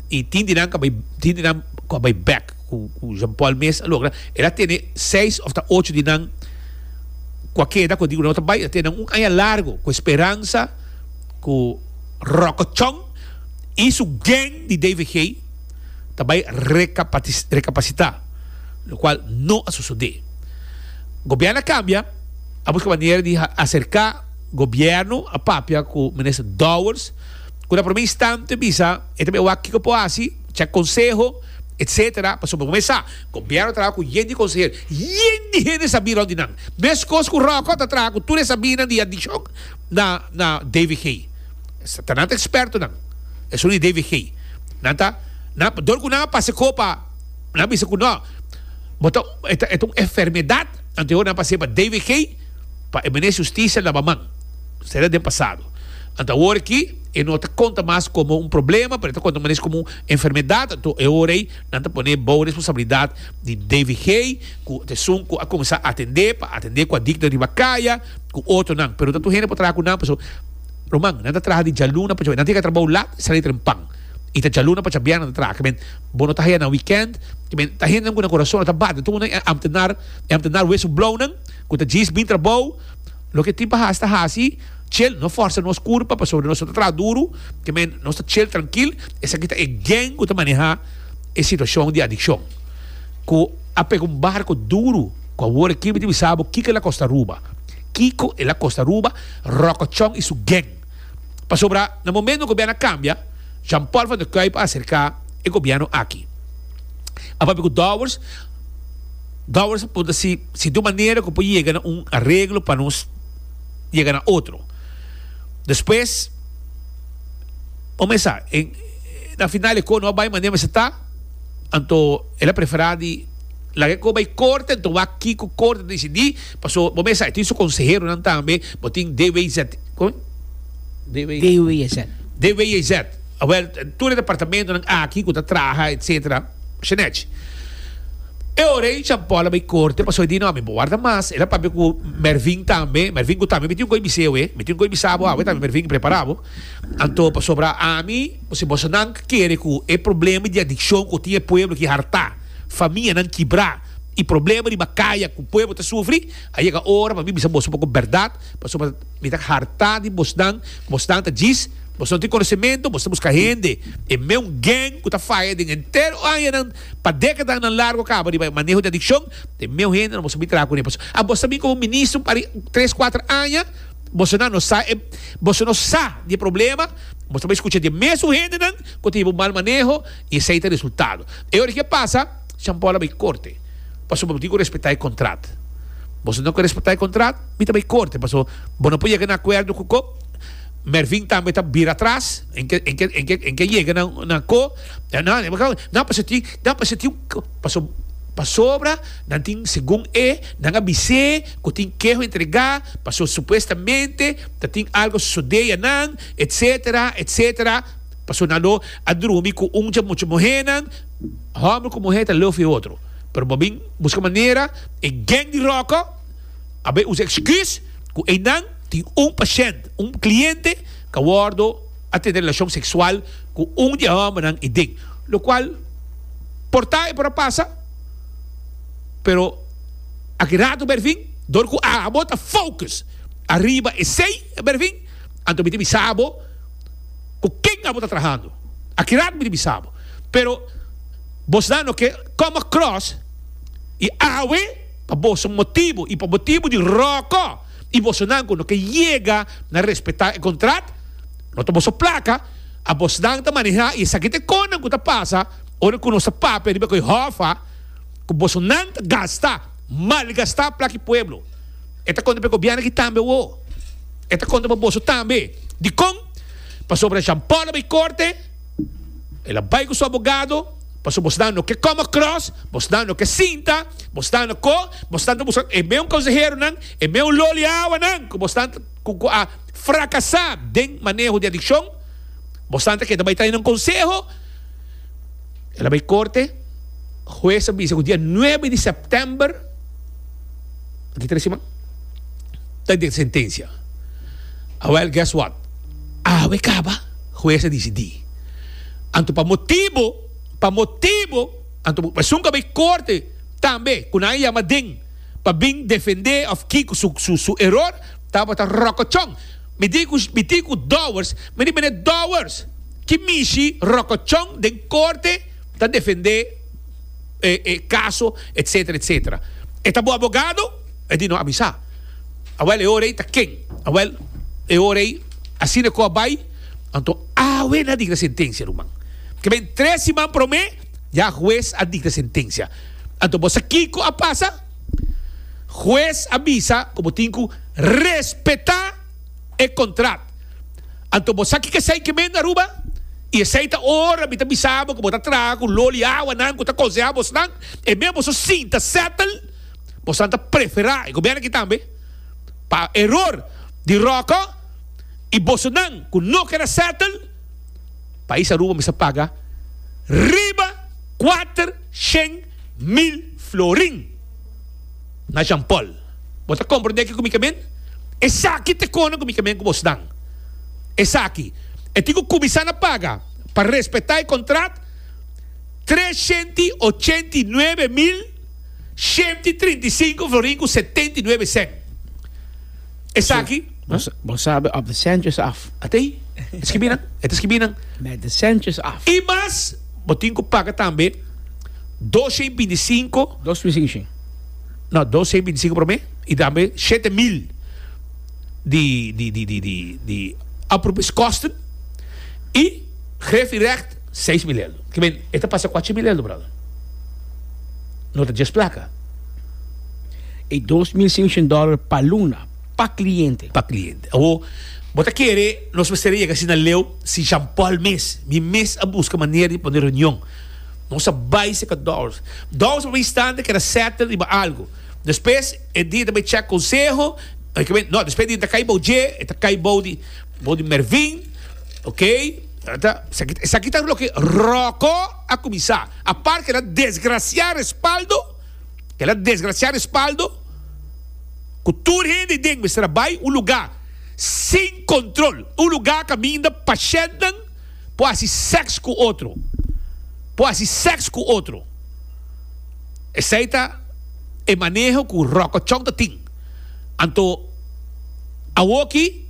y tin di nan cu a bay tin di nan cu a bay bek cu cu Jean Paul mes a logra el a tene seis of ta ocho di nan cu a keda cu a di cu no ta bay el a tene nan un aña largo cu e speransa cu Rocco Chong y su gang di D V G ta bay recapacita locual no a sosode. Gobierno a cambia, a busca manera di acerca gobierno, a papia cu Minister Dowers cu na prome instante bisa e ta bay wak kico por haci, check conseho etcetera. Pasobra bo mes sa gobierno ta traha cu yen di consehero, yen di hende sabi rond di nan, mescos cu Rocco ta traha cu tur e sabinan di adiccion na na D V G. Ta nan ta expertonan esun di D V G. Nan ta nan dor cu nan a pasa e copa, nan bisa cu no bo ta e ta un enfermedad, anto e ora nan a pasa pa D V G pa e minister di husticia laba man. Sera den pasado. Anto awor aki e no ta konta mas komo un problema, pero e ta konta mas komo un enfermedat. Anto e ora ei nan ta pone bou responsabilidat di D V G, ku ta esun ku a kuminsá atendé pa atendé ku adiktonan riba kaya, ku otronan. Pero ta tur hende por traha ku nan, pasobra ruman, nan ta traha di djaluna pa djabièrnè. Nan tin ke trabou lat i sali trempan. I ta djaluna pa djabièrnè nan ta traha. Kimen bo no ta haya nan wikènt. Kimen ta hendenan ku nan kurason no ta bati. Tur nan e amtenar, e amtenar wesu blounan ku ta djis bin trabou. Loke tin pa hasi ta hasi, chill, no forsa nos kurpa pasobra nos no ta traha duru, ke men nos ta chill trankil. Esaki ta e gang ku ta maneha e situashon di adikshon ku a pega un barko duru ku awor aki mi ta bisa bo kiko el a kosta Aruba, kiko el a kosta Aruba, Ròkòchòn i su gang. Pasobra na momento ku gobièrnu a kambia, Jean Paul van der Kuyp a aserká e gobièrnu aki a papia ku Dowers. Dowers a puntra si si tin un manera ku por yega na un areglo pa nos yega na otro. Despues, omesa, en, na final e ko no bai manera mester ta, anto el a preferá di laga e ko bai korte, anto wak kiko korte ta disidí, paso bo mesa e tin su konseheronan tambe, bo tin D W Z, kon? D W D W Z. D W Z. Awel, tur e departamentonan aki ku ta traha, etcetera. Shenech. E ora ei Jean Paul a bai korte pasobra e di, No, mi bo warda mas. El a papia ku Mervin tambe. Mervin ku tambe mi tin un koi bis'é awe. Mi tin un koi bisa bo awe tambe, Mervin, prepara bo. Anto pasobra ami, si bosonan kere ku e problema di adikshon ku tin e pueblo ki hartá, famianan kibrá i problema riba kaya ku pueblo ta sufri, a yega ora pa mi bisa boso poko bèrdat, pasobra mi ta hartá di bosnan, ku bosnan ta djis. Boso no tin konosementu, boso ta buska hende. E meun gang ku ta faya den henter añanan pa dékadanan largu kaba riba e maneho di adikshon, e meun hendenan boso bin traha kuné. Pasobra abo ta bin komo minister un par di tres kuater aña, bosonan no sa e boso no sa di e problema, boso ta bai skucha di e mesun hendenan ku ta hiba un mal maneho i esei ta e resultado. E ora ke pasa, Jean Paul a bai korte, pasobra bo tin ku respetá e kontrat. Boso no ke respetá e kontrat, mi ta bai korte, pasobra bo no por yega na akuerdo ku ko. Mervin tambe ta bira atras, en ke en ke en ke en ke yega na na ko, no no pasobra tin no pasobra tin un paso pasobra nan tin segun e nan a bis'é ku tin keho entregá paso supuestamente ta tin algo sosodé yanan etcetera etcetera paso nan lo a drumi ku un dje mucha muhénan. Hòmber ku muhé ta leu for e otro, pero bo bin buska manera e gang di Ròkò a bai usa excuse ku einan tin un pashènt, un kliente ku a wòrdu a tene relashon seksual ku un di e hòmbernan i den. Lokual por ta e por a pasa, pero aki rato Bervin, dor ku abo ta focus ariba esei, Bervin, anto mi ta bisa bo ku ken abo ta trahando. Aki rato mi ta bisa bo. Pero bosnan no ke come across i awe pa boso motibu i pa motibu di Ròkò i bosonan ku no ke yega na respetá e kontrat, no ta boso plaka, a bosnan ta manehá i esaki ta e konan ku ta pasa ora ku nos ta papia riba ku e hòf ku bosonan ta gasta, malgastá plaka di pueblo. E ta konta pa e gobièrnu aki tambe awor. E ta konta pa boso tambe. Dikon? Pasobra Jean Paul a bai korte, el a bai ku su abogado, pasobra bosnan no ke come across, bosnan no ke sinta, bosnan no ko, bosnan ta buska e meun konseheronan, e meun loli awanan ku bosnan ku ku a frakasá den maneho di adikshon, bosnan ta keda bai trae nan konseho. El a bai korte, hues a bisa ku dia nuebe di sèptèmber, aki tres siman, ta dikta sentensia. Awèl, guess what? Awe kaba, hues a disidí. Anto pa motibu, pa motibu, anto esun ku a bai korte tambe, ku nan a yama den pa bin defendé òf kiko su su su eror, tabata Ròkòchòn. Mi di ku mi di ku Dowers, mi di mene Dowers, ki mishi Ròkòchòn den korte ta defendé e e kaso, etsetera, etsetera. E ta bo abogado? E di no a bisa. Awèl e ora ei ta ken? Awèl e ora ei asina ku a bai, anto awe nan a dikta sentensia, ruman. Ke ben tres siman promé ya hues a dikta sentensia. Anto bo sa kiko a pasa? Hues a bisa ku bo tin ku respetá e kontrat. Anto bo sa kiko esei ke men na Aruba? I esei ta ora mi ta bisa bo ku bo ta traha ku loli awanan ku ta konsehá bosnan, e men boso sinta settle, bosnan ta preferá e gobièrnu aki tambe pa eror di Ròkò i bosonan ku no keda settle, pais Aruba mester paga riba kuater shen mil florin na Jean Paul. Bo ta komprendé kiko mi ke men? Esaki ta e kona ku mi ke men ku bosnan. Esaki. E tin ku kuminsá na paga pa respetá e kontrat treshenti ochenta i nuebe mil shenti trinta i sinku florin ku setenta i nuebe sèn. Esaki. Bo sabi op de centjes af. Atei, e skibi nan, e ta skibi nan. Met de centjes af. I mas, bo tin ku paga tambe doshen binti sinku. Dos mil sinku shen. No, doshen binti sinku promé i tambe shete mil. di di di di di di oproepingskosten y griffierecht seis mil eldo. Ke men e ta pasa kuachi mil eldo, brother. No ta djes plaka. E dos mil sinshent dòler pa luna. Pa cliente. Pa cliente. Awo, bo ta kere nos mester yega asina leu si Jean Paul mes, mi mes a busca manera di pone reunion. Nos a bai seca Dowers. Dowers pa instante keda settle riba algo. Despues e dia ta bai check conseho, no, despues e dia ta cay bou dje, e ta cay bou di, bou di Mervin, ok. Ta, esaki, esaki ta loke Rocco a cuminsa. Apart cu el a desgracia Respaldo, cu el a desgracia Respaldo, cu tur hende den mester a bay un lugar sin control, un lugar caminda pashentnan por haci sex cu otro, por haci sex cu otro. Esey ta e maneho cu Rocco Chong ta tin. Anto awoki.